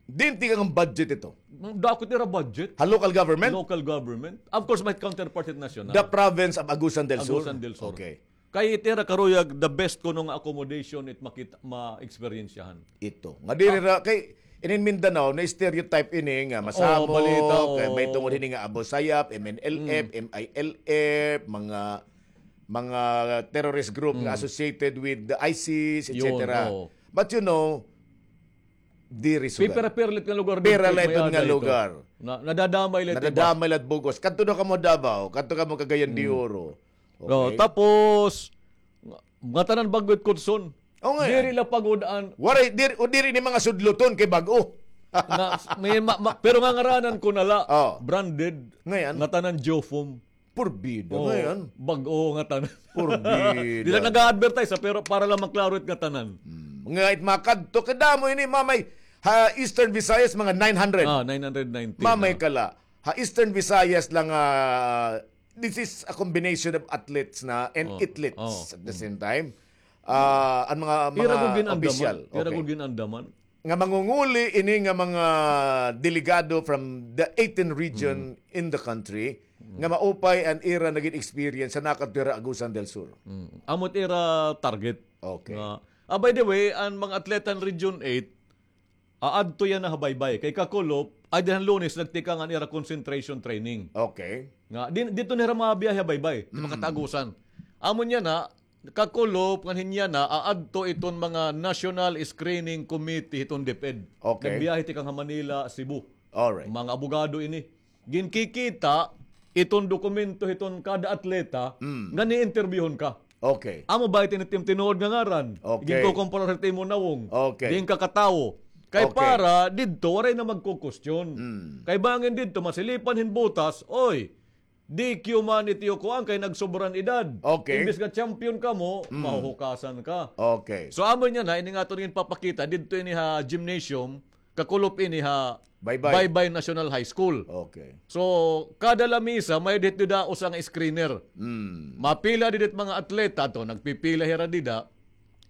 Diin tikang an budget ito? Dako it ira budget. Ha local government? Local government. Of course, may counterpart it national. The province of Agusan del Sur? Agusan del Sur. Okay. Kay it ira karuyag the best kuno nga accommodation it makita, ma-eksperyensyahan. Ito. Nga diri ra, kay inin Mindanao, na-stereotype ini nga Oo, masamok, balita, kay may oo. tungod hini nga Abu Sayyaf, M N L F, Mm. M I L F, mga, mga terrorist group nga Mm. associated with the ISIS, Yun, et cetera. oo. But you know, diri sugad. Pipira-pira la it nga lugar Pira dito, la may iton nga ada ito. lugar. Na, nadadamay la it iba. Nadadamay la it bug-os. Kadto daw kamo Davao, kadto kamo Cagayan de Mm. Oro. No, Okay. tapos, nga, ngatanan bag-o it kutson. Oh, nga Diri yan. la pagod-an. Waray, diri, o diri ni mga sudloton kay bag-o. Na, may ma-, ma-, pero nga ngaranan ko na la, Oh. branded, Ngayon. ngatanan Geofoam. Purbida. Oh, Ngayon. bag-o ngatanan. Purbida. Diri la nag-a-advertise, ha, pero para lang maklaro it ngatanan. Hmm. Nga it makadto, kadamo ini, mamay, ha Eastern Visayas, mga nine hundred. Ah, nine hundred ninety, Mamay ah. ka la. Ha Eastern Visayas lang, ah, this is a combination of athletes na and Oh, athletes oh. at the Mm. same time. Ah, an mga, Ira mga gud gin-andaman. opisyal. Ira Okay. gud gin-andaman. Nga mangunguli ini nga mga delegado from the eighteen region Mm. in the country, Mm. nga maupay an ira nagin experience sa nakadto hira Agusan del Sur. Mm. Amo it ira target. Okay. Nga, ah, by the way, an mga atleta han Region eight, aadto yana ha Baybay. Kay kakulop, ay dinhan Lunes, nagtikang an ira concentration training. Okay. Nga, din, didto na hira mabiyahe ha Baybay, Mm. makatagusan. Amo niyan na, kakulop, ngan hin yana, aadto iton mga National Screening Committee hiton DepEd. Okay. Nagbiyahe tikang ha Manila, Cebu. Alright. Mga abogado ini. Ginkikita iton dokumento hiton kada atleta Mm. nga ni-interviewhon ka. Okay. Amo ba it ini it im tinuod nga ngaran? Okay. Ginkukumparar hit imo nawong. Okay. Diin ka katawo. Kay Okay. para didto, waray na magkukwestiyon. Mm. Kay bangin didto, masilipan hin butas, oy, D Q man it iyo kuan kay nagsobra an edad. Okay. Imbis nga champion kamo, Mm. mahuhukasan ka. Okay. So, amo niyan na, ini nga aton ginpapakita, didto ini ha gymnasium, kakulop ini ha Baybay. Baybay National High School. Okay. So, kada lamisa, may didto da usa nga screener. Mm. Mapila dida it mga atleta to, nagpipila hira dida.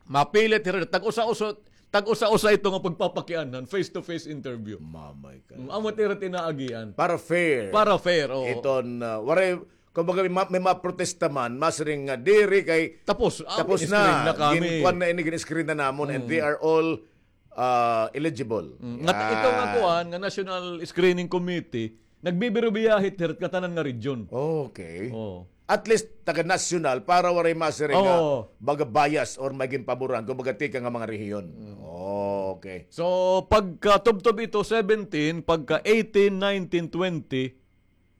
Mapili hira, tag-usa-usa, tag-usa-usa ito nga pagpapakianhan, face-to-face interview. Mamay ka. Mm, amo it ira it inaagian. Para fair. Para fair, oo. Iton, ah, waray, kumbaga, may ma-, may maprotesta man, masiring nga diri kay Tapos, ah, tapos na. gin-screen na kami. Gin-kuan na ini, gin-screen na namon, and Mm. they are all, ah, eligible. Mm. Ngat-, ito nga Yan. kuan, nga National Screening Committee, nagbibirubiyahe hira ngatanan nga region. Okay. Oo. At least, taga-nasyonal para waray masiring nga Oo. baga bias or may ginpaboran, kumbaga, tikang nga mga rehiyon. Mm. Okay. So, pagka tubtob ito, seventeen, pagka eighteen, nineteen, twenty,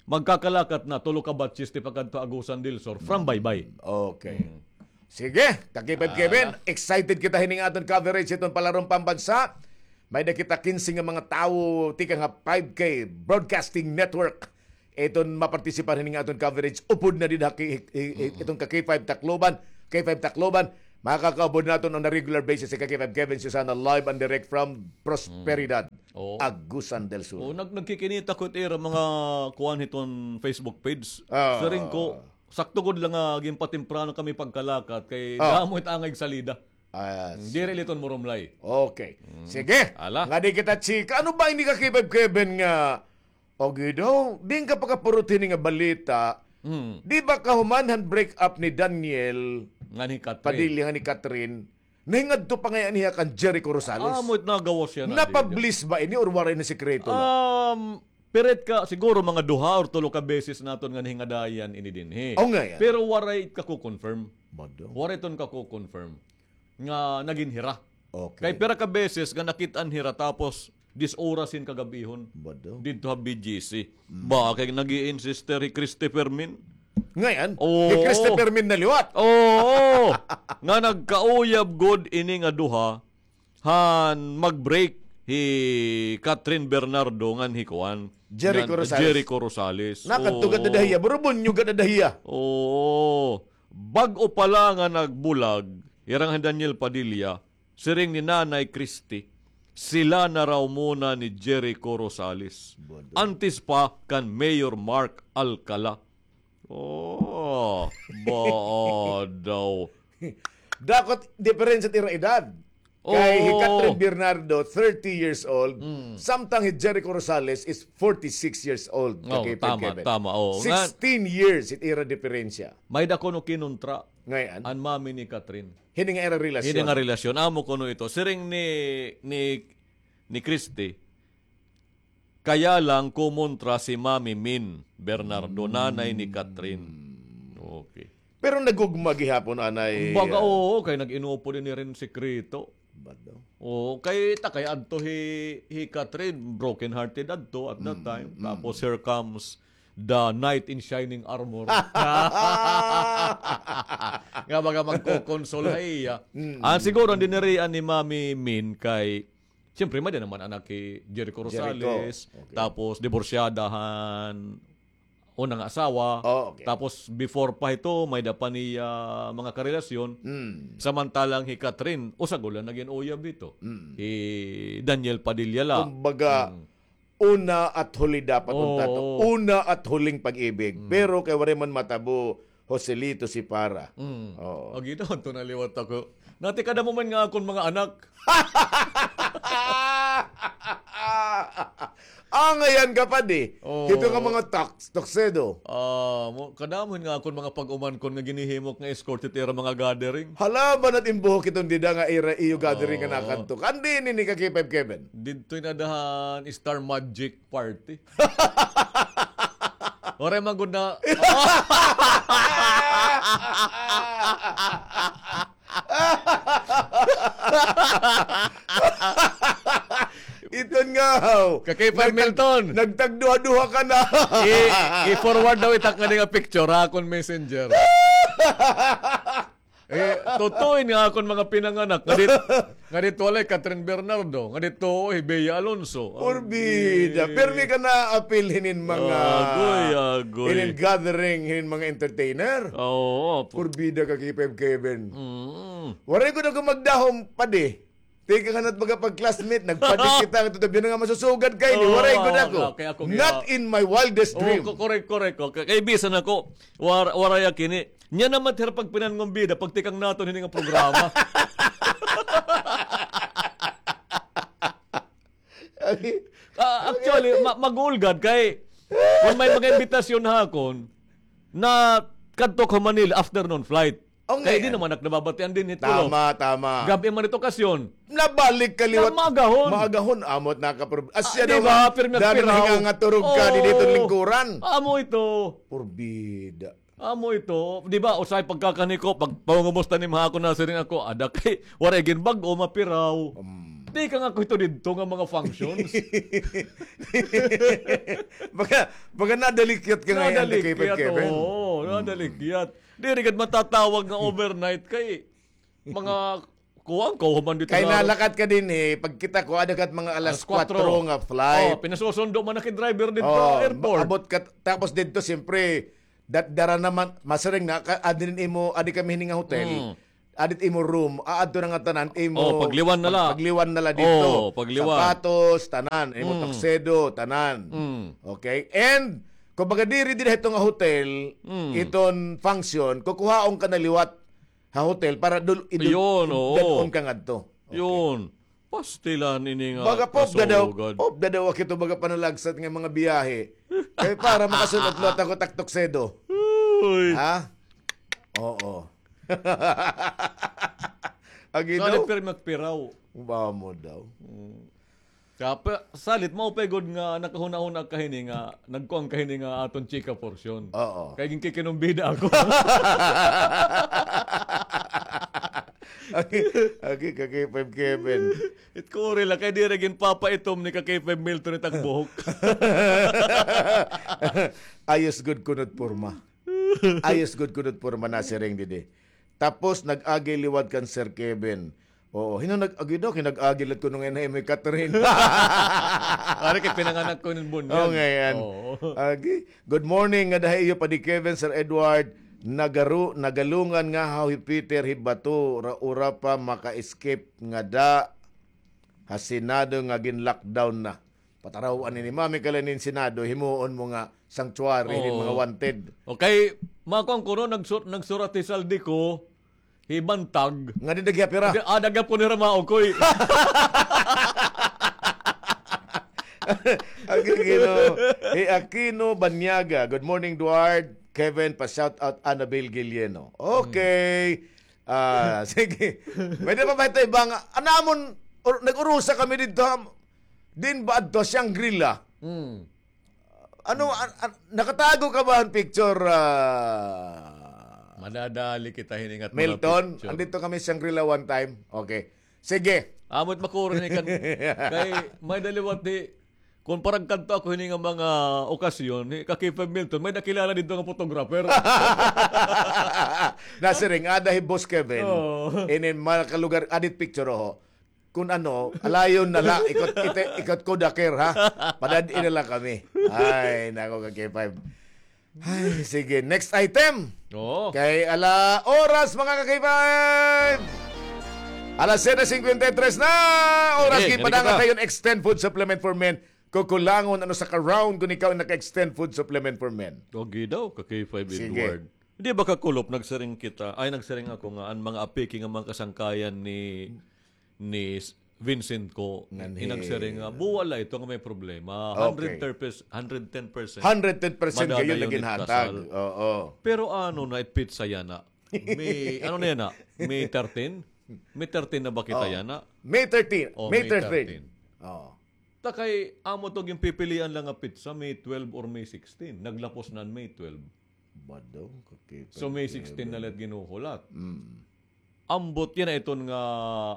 magkakalakat na, tulo ka batches ti pakadto Agusan del Sur, from Baybay. Okay. Mm. Sige, ka-K five Kevin, excited kita hining aton coverage iton palaron pambansa. May-ada kita kinse nga mga tawo tikang ha five K Broadcasting Network. Iton mapartisipar hining aton coverage, upod na dida ha ki-, i-, i-, iton ka-K five Tacloban, K five Tacloban. Makakaupod naton on a regular basis si ka-K five Kevin Susana live and direct from Prosperidad, Oo. Agusan del Sur. Oo, nag-, nagkikinita ko it ira mga kuan hiton Facebook page. Ah. Siring ko, sakto gud la nga ginpatemprano kami pagkalakat kay Ah. damo it angay salida. Ah, Diri liton murumlay. Okay. Mm. Sige. Ala. Ngadi kita chika. Ano ba ini ka-K five Kevin nga, okay daw, diin ka pakapurot hini nga balita? Mm. Di ba kahuman han break up ni Daniel Ngan hi Catherine. Padilla ngan hi Catherine? Nahingadto pa ngay-an hiya kan Jericho Rosales. Ah, amo it nagawas hiya na, Napabliss ba ini or waray na, sikreto la? Um, pirit ka, siguro mga duha or tulo ka beses naton nga nahingadayan ini dinhi. O, ngay-an. Pero waray it kako-confirm. Mado. Waray iton kako-confirm nga nagin hira. Okay. Kay pira ka beses nga nakit-an hira tapos diyes oras hin kagab-ihon. Mado. Didto ha B G C. Mm. Ba, kay nag-i-insist hi Christy Fermin. Ngay-an? Oo. Hi Christy Fermin na liwat. Oo. Nga nagkauyab gud ini nga duha han mag-break hi Catherine Bernardo ngan hi kuan, Jericho ngan Rosales. Jericho Rosales. Nakadto gad Oo. dida hiya, burubunyo gad dida hiya. Oo. Bag-o pa la nga nagbulag, ira ngan hi Daniel Padilla, siring ni Nanay Christy, sila na raw muna ni Jericho Rosales. Bado. Antes pa kan Mayor Mark Alcala. Oh, ba daw. Dako it diferensya it ira edad. Kay hi Oo. Catherine Bernardo, thirty years old, Mm. samtang hi Jericho Rosales is forty-six years old. Oh, Kay tama, Kevin. tama, oo. Nga Sixteen years it ira diferensya. May-ada kuno kinontra Ngay-an. an mami ni Catherine. Hini nga ira relasyon. Hini nga relasyon. Amo kuno ito. Siring ni, ni, ni Christy, Kaya lang kumontra si Mami Min Bernardo, nanay ni Catherine. Okay. Pero nagugma gihapon anay, Kumbaga, ah, oo, kay nag-inupod ini rin sikreto. Bado. Oo, kay ta kay adto hi, hi Catherine, broken-hearted adto at that Mm, time. mm. Tapos here comes the knight in shining armor. Nga baga magkokonsol ha iya. Mm, Ah, mm, siguro, ang mm. dinirian ni Mami Min kay Siyempre, may-ada naman anak hi Jericho Jericho. Rosales, Okay. tapos diborsyada han una nga asawa, Oh, okay. tapos before pa hito, may-ada pa niya mga karelasyon. Mm. Samantalang hi Catherine, usa gud la nagin uyab hito. Mm. Hi Daniel Padilla la. Kumbaga, Mm. una at huli dapat Oo. unta to. Una at huling pag-ibig. Mm. Pero kay waray man matabo, Joselito si Para. Mm. Oo. Agi daw, ito na liwat ako. Nati kadamo man nga akon mga anak. Ah, ngayan ka pa di. Oo. Hito nga mga tax, tuxedo. Ah, mo, kadamo nga akon mga pag-umankon nga ginihimok nga escort hit ira mga gathering. Hala, banat in buhok iton dida nga ira iyo gathering nga Oo. nakadto. Kandi ini ni ka K five Kevin? Didto in adahan Star Magic Party. Waray man gud na. Iton nga, haw. Ka K five Nagtag-, Milton. nagtagduha-duha ka na. I-, i-forward daw itak nga di nga picture, ha, akon messenger. Eh, totoo ini nga akon mga pinanganak. Nga dit-, nga didto walay Catherine Bernardo. Nga didto, hi Bea Alonso. Purbida. Ay. Pirmi ka na apil hinin mga, Agoy, agoy. hinin gathering, hinin mga entertainer. Oo, pu- Purbida ka, K five Kevin. Mm. Waray gud ako magdahom, padi. Tikang han at mga pag-classmate, nagpadi kita, nga tutubian nga masusugad kay ni. Oo, Waray gud ako. okay, ako, Not yeah. in my wildest Oo, dream. ko-, correct, correct. Okay. Kay bisan ako, war-, waray ak ini. Nya naman, her pagpinangon bida, pagtikang naton hini nga programa. Ah, actually, ma-, mag-uulgad kay, kung may mga imbitasyon ha akon, na kadto ko Manila, afternoon flight. Oh, Kay di ngayon. naman ak nababatian din hit Tama, tama. Gab-i man it okasyon. Nabalik ka liwat. Na maagahon. Maagahon, amot nakaprob-, Ah, asya di daw ba? nga, Pirmi, dami pirmi na ako. nga turog ka, di dito Oo. lingkuran. Amo ito. Purbida. Amo ito. Di ba, usahay pagkakanhi ko, pag pangumusta ni Mahako na siring ako, ada kay, waray gin bag-o, mapiraw. Um. Tikang ako ito didto nga mga functions. Baga, baga nadalikyat ka ngayon, Nadalikyat, Kevin. Oo, nadalikyat. Diri gad matatawag nga overnight kay mga kuwan, kauhaman dito Kay sa nalakat ka din eh, pagkita ko, ada ka mga alas Alas kwatro. kwatro nga flight. Oh, pinasusundo man na kay driver dito Oh, sa airport. Abot ka, tapos dito, siyempre, dat dara naman, masiring na, ka, adi rin imo, adi kami hini nga hotel. Mm. Adit imo room, aadto na nga tanan, imo Oh, pagliwan na la. Pagliwan na la dito. Oh, pagliwan. Sapatos, tanan, imo Mm. tuxedo, tanan. Mm. Okay? And, kumbaga diri, diri ito nga hotel, Mm. iton function, kukuhaon ka na liwat ha hotel para dul-, idul-, Yun, oo. dad-on ka ngadto. Okay. Yun. Pastilan ini nga Baga pop da daw, kasugad. pop da daw ako ito, baga panalagsat nga mga biyahe. Kaya para makasunod liwat ako tak tuxedo. Uy. Ha? Oo. Agi Salit daw? pero magpiraw. Ba mo daw? Mm. Kapa, salit, maupay gud nga nakahuna-huna ka hini nga, nagkuan ka hini nga aton chika portion. Oo. Kay ginkikinumbida ako. Agi, agi, ka K five Kevin. It kuri la, kay diri ginpapaitom ni ka K five Milton it ak buhok. Ayos gud kunot porma. Ayos gud kunot porma nasiring didi. Tapos nag-agi liwat kan Sir Kevin. Oo, hino nag-agi daw, kinag-agi lat kuno nga ina imo Catherine. Ari kay pinanganak ko nin bunyan. Oh, ngayon. Oo. Agi. Good morning, ngada ha iyo, Padi Kevin, Sir Edward. Nagaru-, nagalungan nga ha hi Peter hi Bato, ra-, ura pa maka-escape ngada ha Senado nga gin-lockdown na. Pataraw-an ini, mami ka la nin Senado, himuon mo nga sanctuary, nin mga Oo. wanted. Okay, makuan ko no, nagsu-, nagsurat hi Saldi ko, hi Bantag. Nga di nagyapira. Di, ah, nagyapon ni Ramao ko, eh. Ang Aquino, eh, Aquino Banyaga. Good morning, Duard. Kevin, pa-shout out Annabel Guillermo. Okay. Ah, sige. Pwede pa ba ito ibang, anamon, or, nag-urusa kami dito, ha? Din ba adto, Shangri-La? Mm. Ano, an-, an-, nakatago ka ba an picture, ah, Madadali kita hiningat mga Milton? Picture. Andito kami Shangri-La one time. Okay. Sige. Amot makuro ni kan, kay may daliwat di, kung parang kanto ako hini nga mga okasyon, ni Kakipe Milton, may nakilala dito nga photographer. Nasiring, ada hi Boss Kevin. Oo. Inin mga kalugar, adit picture, oho. Kung ano, alayon na la, ikot, ite-, ikot ko daker, ha? Padad-i na la kami. Ay, nako, ka K five. Ay, sige, next item. Oo. Kay ala oras, mga ka K five. Alas siyete singkwenta y tres na. Oras, sige, gipadangat tayo Extend Food Supplement for Men. Kukulangon, ano sa ka-round kung ikaw naka-Extend Food Supplement for Men. Okay daw, ka K five Sige. Edward. Di ba, Kakulop, nagsiring kita, ay, nagsiring ako nga, an mga apiki nga mga kasangkayan ni ni s-, Vincent ko, nagsiring nga, buwal la ito nga may problema. Okay. Hundred ten percent, hundred ten percent. Hundred ten percent kayo madadayon naging it hatag. Kasal. Oo. Pero ano na, it pizza yana? May, ano na yana? May thirteen? May thirteen na ba kita yana? May thirteen. Oh, May May thirteen. thirteen. Oo. Ta kay, amo to, ginpipilian lang nga pizza, May twelve or May sixteen. Naglapos na an May twelve. Bado, kakita. So, May sixteen na la it ginuhulat. Mm. Ambot yana iton nga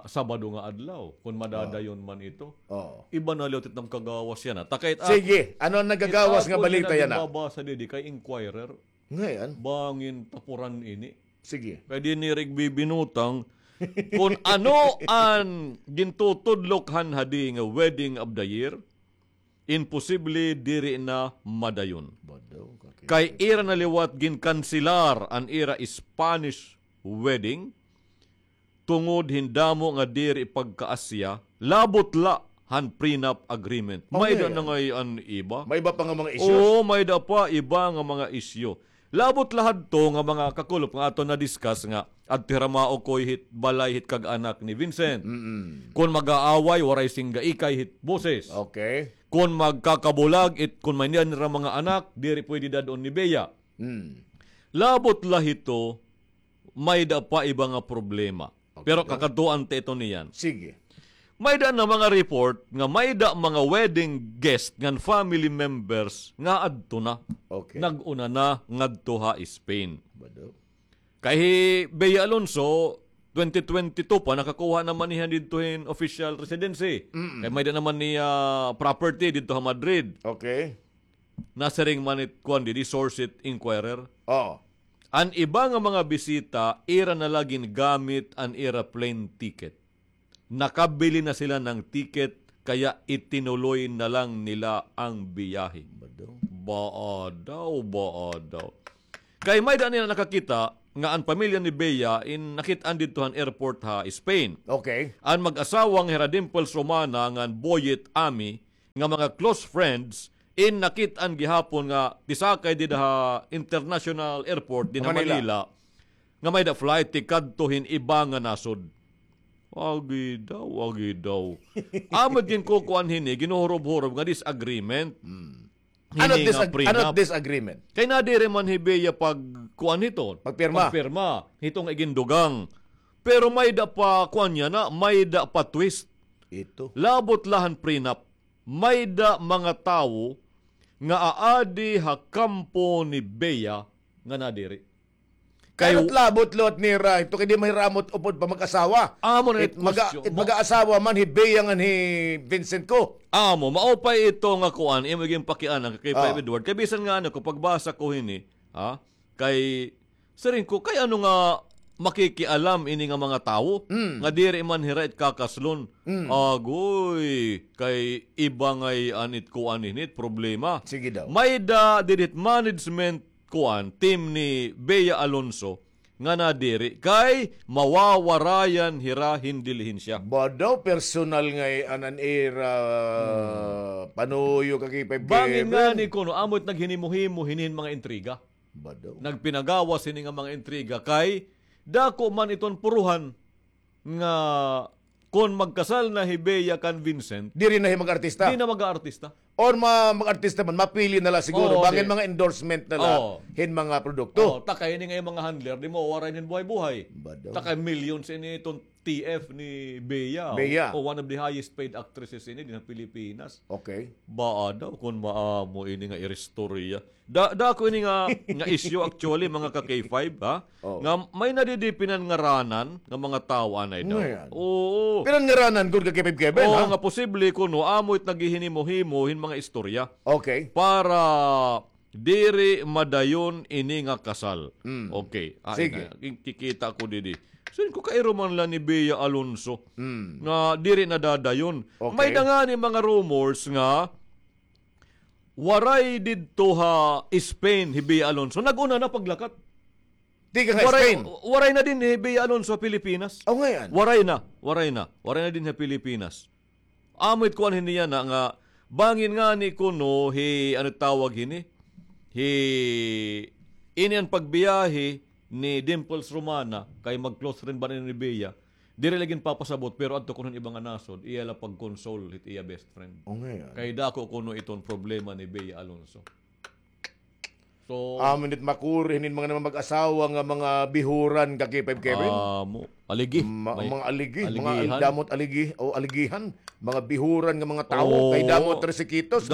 Sabado nga adlaw, kon madadayon man ito. Oo. Iba na liwat iton kagawas yana. Takay it ak-, sige, ano an nagagawas nga balita yana? It ako na nagbabasa didi kay Inquirer. Ngayon? Bangin tapuran ini. Sige. Kay dinhi igbibinutang kon ano an gintutudlok han hadi nga wedding of the year. Imposible diri na madayon. Kay ira na liwat ginkanselar an ira Spanish wedding tungod hin damo nga diri pagkaasya, labot la han prenup agreement. Oh, may da na ngay an iba. May iba pa nga mga issues? Oo, may da pa iba nga mga isyu. Labot la hadto nga mga kakulop nga aton na-discuss nga adto hi Ramao koy hit balay hit kag-anak ni Vincent. Mm-mm. Kon mag-aaway, waray singgaikay hit boses. Okay. Kon magkakabulag, it, kon may niyan ra mga anak, diri pwede dad-on ni Bea. Mm. Labot la hito, may da pa iba nga problema. Okay. Pero kakadtuan ta ito niyan. Sige. May da na mga report nga may da mga wedding guest ngan family members nga adto na. Okay. Nag-una na ngadto ha Spain. Bado. Kay hi Bea Alonso, twenty twenty-two pa, nakakuha naman niya didto hin official residency. Mm. Kay may-ada naman niya property didto ha Madrid. Okay. Nasiring man it, kuan didi, source it Inquirer. Oo. An iba nga mga bisita, ira na la gingamit an ira plane ticket. Nakabili na sila ng ticket, kaya itinuloy na lang nila ang biyahe. Ba daw? Ba daw, ba daw. Kay may-ada nila nakakita nga an pamilya ni Bea in nakit-an didto han airport ha Spain. Okay. An mag-asawa nga hira Dimples Romana ngan Boyet Ami nga mga close friends in nakit-an gihapon nga tisakay dida ha international airport din ha Manila. Manila, nga may-ada flight tikadto hin iba nga nasod. Agi daw, agi daw. Amo it ginkukuan hini, ginuhurob-hurob nga disagreement. Hmm. Ano hini nga disag-, ano prenup. Disagreement? Kay nadiri man hi Bea pagkuan hito. Pagpirma. Pagpirma. Hito nga igindugang. Pero may-ada pa kuan niya na, may-ada pa twist. Ito. Labot la han prenup. May-ada mga tawo nga aadi ha kampo ni Bea nga nadiri. Kay kaya't labot liwat nira, ito kay di mahiramot upod pa mag-asawa. Amo na it maga-, question it mo. Mag-aasawa man hi Bea ngan hi Vincent ko. Amo, mao pa ito nga kuan, imo ginpakiana kay Five Edward. Kay bisan nga ano ko, pagbasa ko hini, ha? Kay, siring ko, kay ano nga makikialam ini nga mga tawo? Mm. Nga diri man hira it kakaslon. Mm. Agoy, kay iba ngay-an it kuan hini it problema. Sige daw. May-ada didi hit management kuan, team ni Bea Alonso, nga nadiri kay mawawarayan hira hin dilihensya. Ba daw, personal ngay-an an ira panuyo, ka K five Kevin. Bangin ngani kuno, amo it naghinimo-himo hini hin mga intriga. Ba daw. Nagpinagawas hini nga mga intriga kay dako man iton puruhan nga kon magkasal na hi Bea kan Vincent, diri na hi mag-artista. Di na mag-aartista. Or ma-, mag-artista man, mapili na la siguro. Oo, bangin mga endorsement na la hin mga produkto. Oo, ta kay ini nga mga handler, di mawawarayan hin buhay-buhay. Ba daw. Ta kay millions ini iton T F ni Bea. Bea. O, one of the highest paid actresses ini din ha Pilipinas. Okay. Baa daw kon maamo ini nga iristorya. Da, dako ini nga, nga issue actually, mga ka K five, ha? Oh. Nga may nadidi pinanngaranan nga mga tawo anay daw. Ngayon. Oo. Pinanngaranan gud, ka K five Kevin, oo, ha? Nga posible kuno amo it naghihinimo-himo hin mga istorya. Okay. Para diri madayon ini nga kasal. Mm. Okay. Ah, sige. Ina, kikita ko didi. Siring ko, kairo man la ni Bea Alonso nga diri na dadayon. Okay. May-ada ngani mga rumors nga waray didto ha Spain hi Bea Alonso. Nag-una na paglakat. Tikang ha Spain. Waray na din hi Bea Alonso ha Pilipinas. Oh, ngayon. Waray na, waray na. Waray na din ha Pilipinas. Amo it kuan hini yana nga bangin ngani kuno hi, ano tawag hini? Hi, ini an pagbiyahe ni Dimples Romana, kay mag-close friend ba ni Bea? Diri la ginpapasabot, pero adto kuno hin iba nga nasod, iya la pag-console hit iya best friend. Oh, ngayon. Kay dako kuno iton problema ni Bea Alonso. So, amo it makuri hinin mga mag-asawa nga mga bihuran, ka K five Kevin. Amo, aligi. Ma-, mga aligi, mga al-, damo it aligi, o aligihan, mga bihuran nga mga tawo, kay damo it resikitos.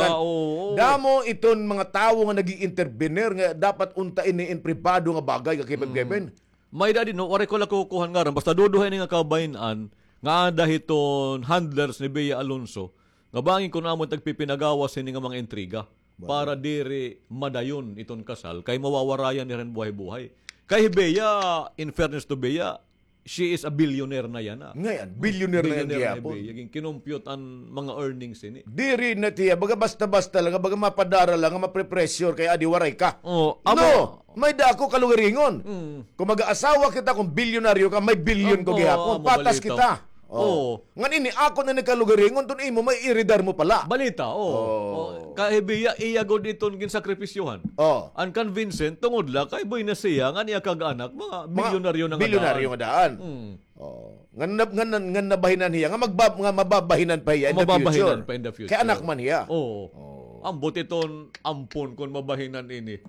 Damo iton mga tawo nga nag-i-intervener nga dapat unta ini in pribado nga bagay, ka K five Kevin. May-ada didi, no, waray ko la kukuha han ngaran. Basta duduha ini nga kabahin-an nga ada hiton handlers ni Bea Alonso nga bangin kuno amo it nagpipinagawas hini nga mga intriga para diri madayon iton kasal kay mawawarayan hira hin buhay-buhay. Kay hi Bea, in fairness to Bea, she is a billionaire na yana. Ngayon, billionaire na yana gihapon. Billionaire na hi Bea. Ginkinumpyut an mga earnings hini. Diri na tiya, baga basta-basta la, baga mapadara la nga mapre-pressure kay adi waray ka. Oh, amo. No, may-ada ako kalugaringon. Mm. Kon mag-aasawa kita, kon bilyonaryo ka, may bilyon ko gihapon. Patas kita. Oh. Ngan ini, ako na ni kalugaringon, tun imo, may iridar mo pala. Balita, oh. Oh. Kay hi Bea, iya gud iton ginsakripisyohan. Oh. An kan Vincent, tungod la kay buenas hiya, ngan iya kag-anak, mga bilyonaryo na nga daan. Bilyonaryo nga daan. Mm. Oh. Ngan nab-, ngan, ngan nabahinan hiya, nga magba-, nga mababahinan pa hiya in the future. Mababahinan pa in the future. Kay anak man hiya. Oo. Oh. Ambot iton ampon kon mabahinan ini.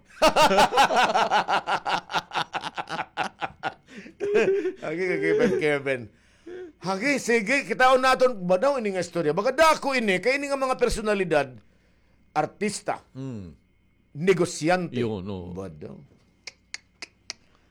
Agi, agi, Kevin. Agi, sige, kitaon naton, ba daw ini nga istorya? Baga dako ini, kay ini nga mga personalidad, artista, negosyante. Yun, oo. Ba daw?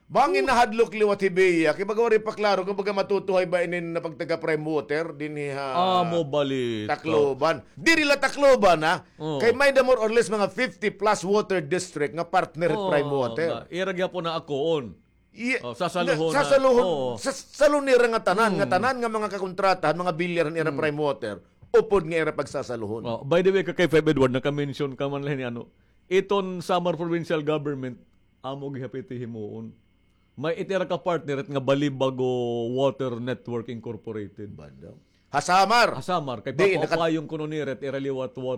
Bangin nahadlok liwat hi Bea, kay baga waray pa klaro kon baga matutuhay ba ini nga pagtaga Prime Water dinhi ha Amo bali. Tacloban. Diri la Tacloban, ha? Oo. Kay may da more or less mga fifty plus water district nga partner hit Prime Water. Ira gyapon na akoon. Iya, sasaluhon na. Sasaluhon, sasaluhon nira nga tanan, nga tanan nga mga kakontratahan, mga bilyar han ira Prime Water, upod nga ira pagsasaluhon. Oh, by the way, Kakay Five Edward, naka-mention ka man la hini ano, iton Samar Provincial Government, amo gihap iti himuon. May iti ira ka partner it nga Balibago Water Network Incorporated. Banda. Ha Samar. Ha Samar. Kay papaupayong kuno nira it ira liwat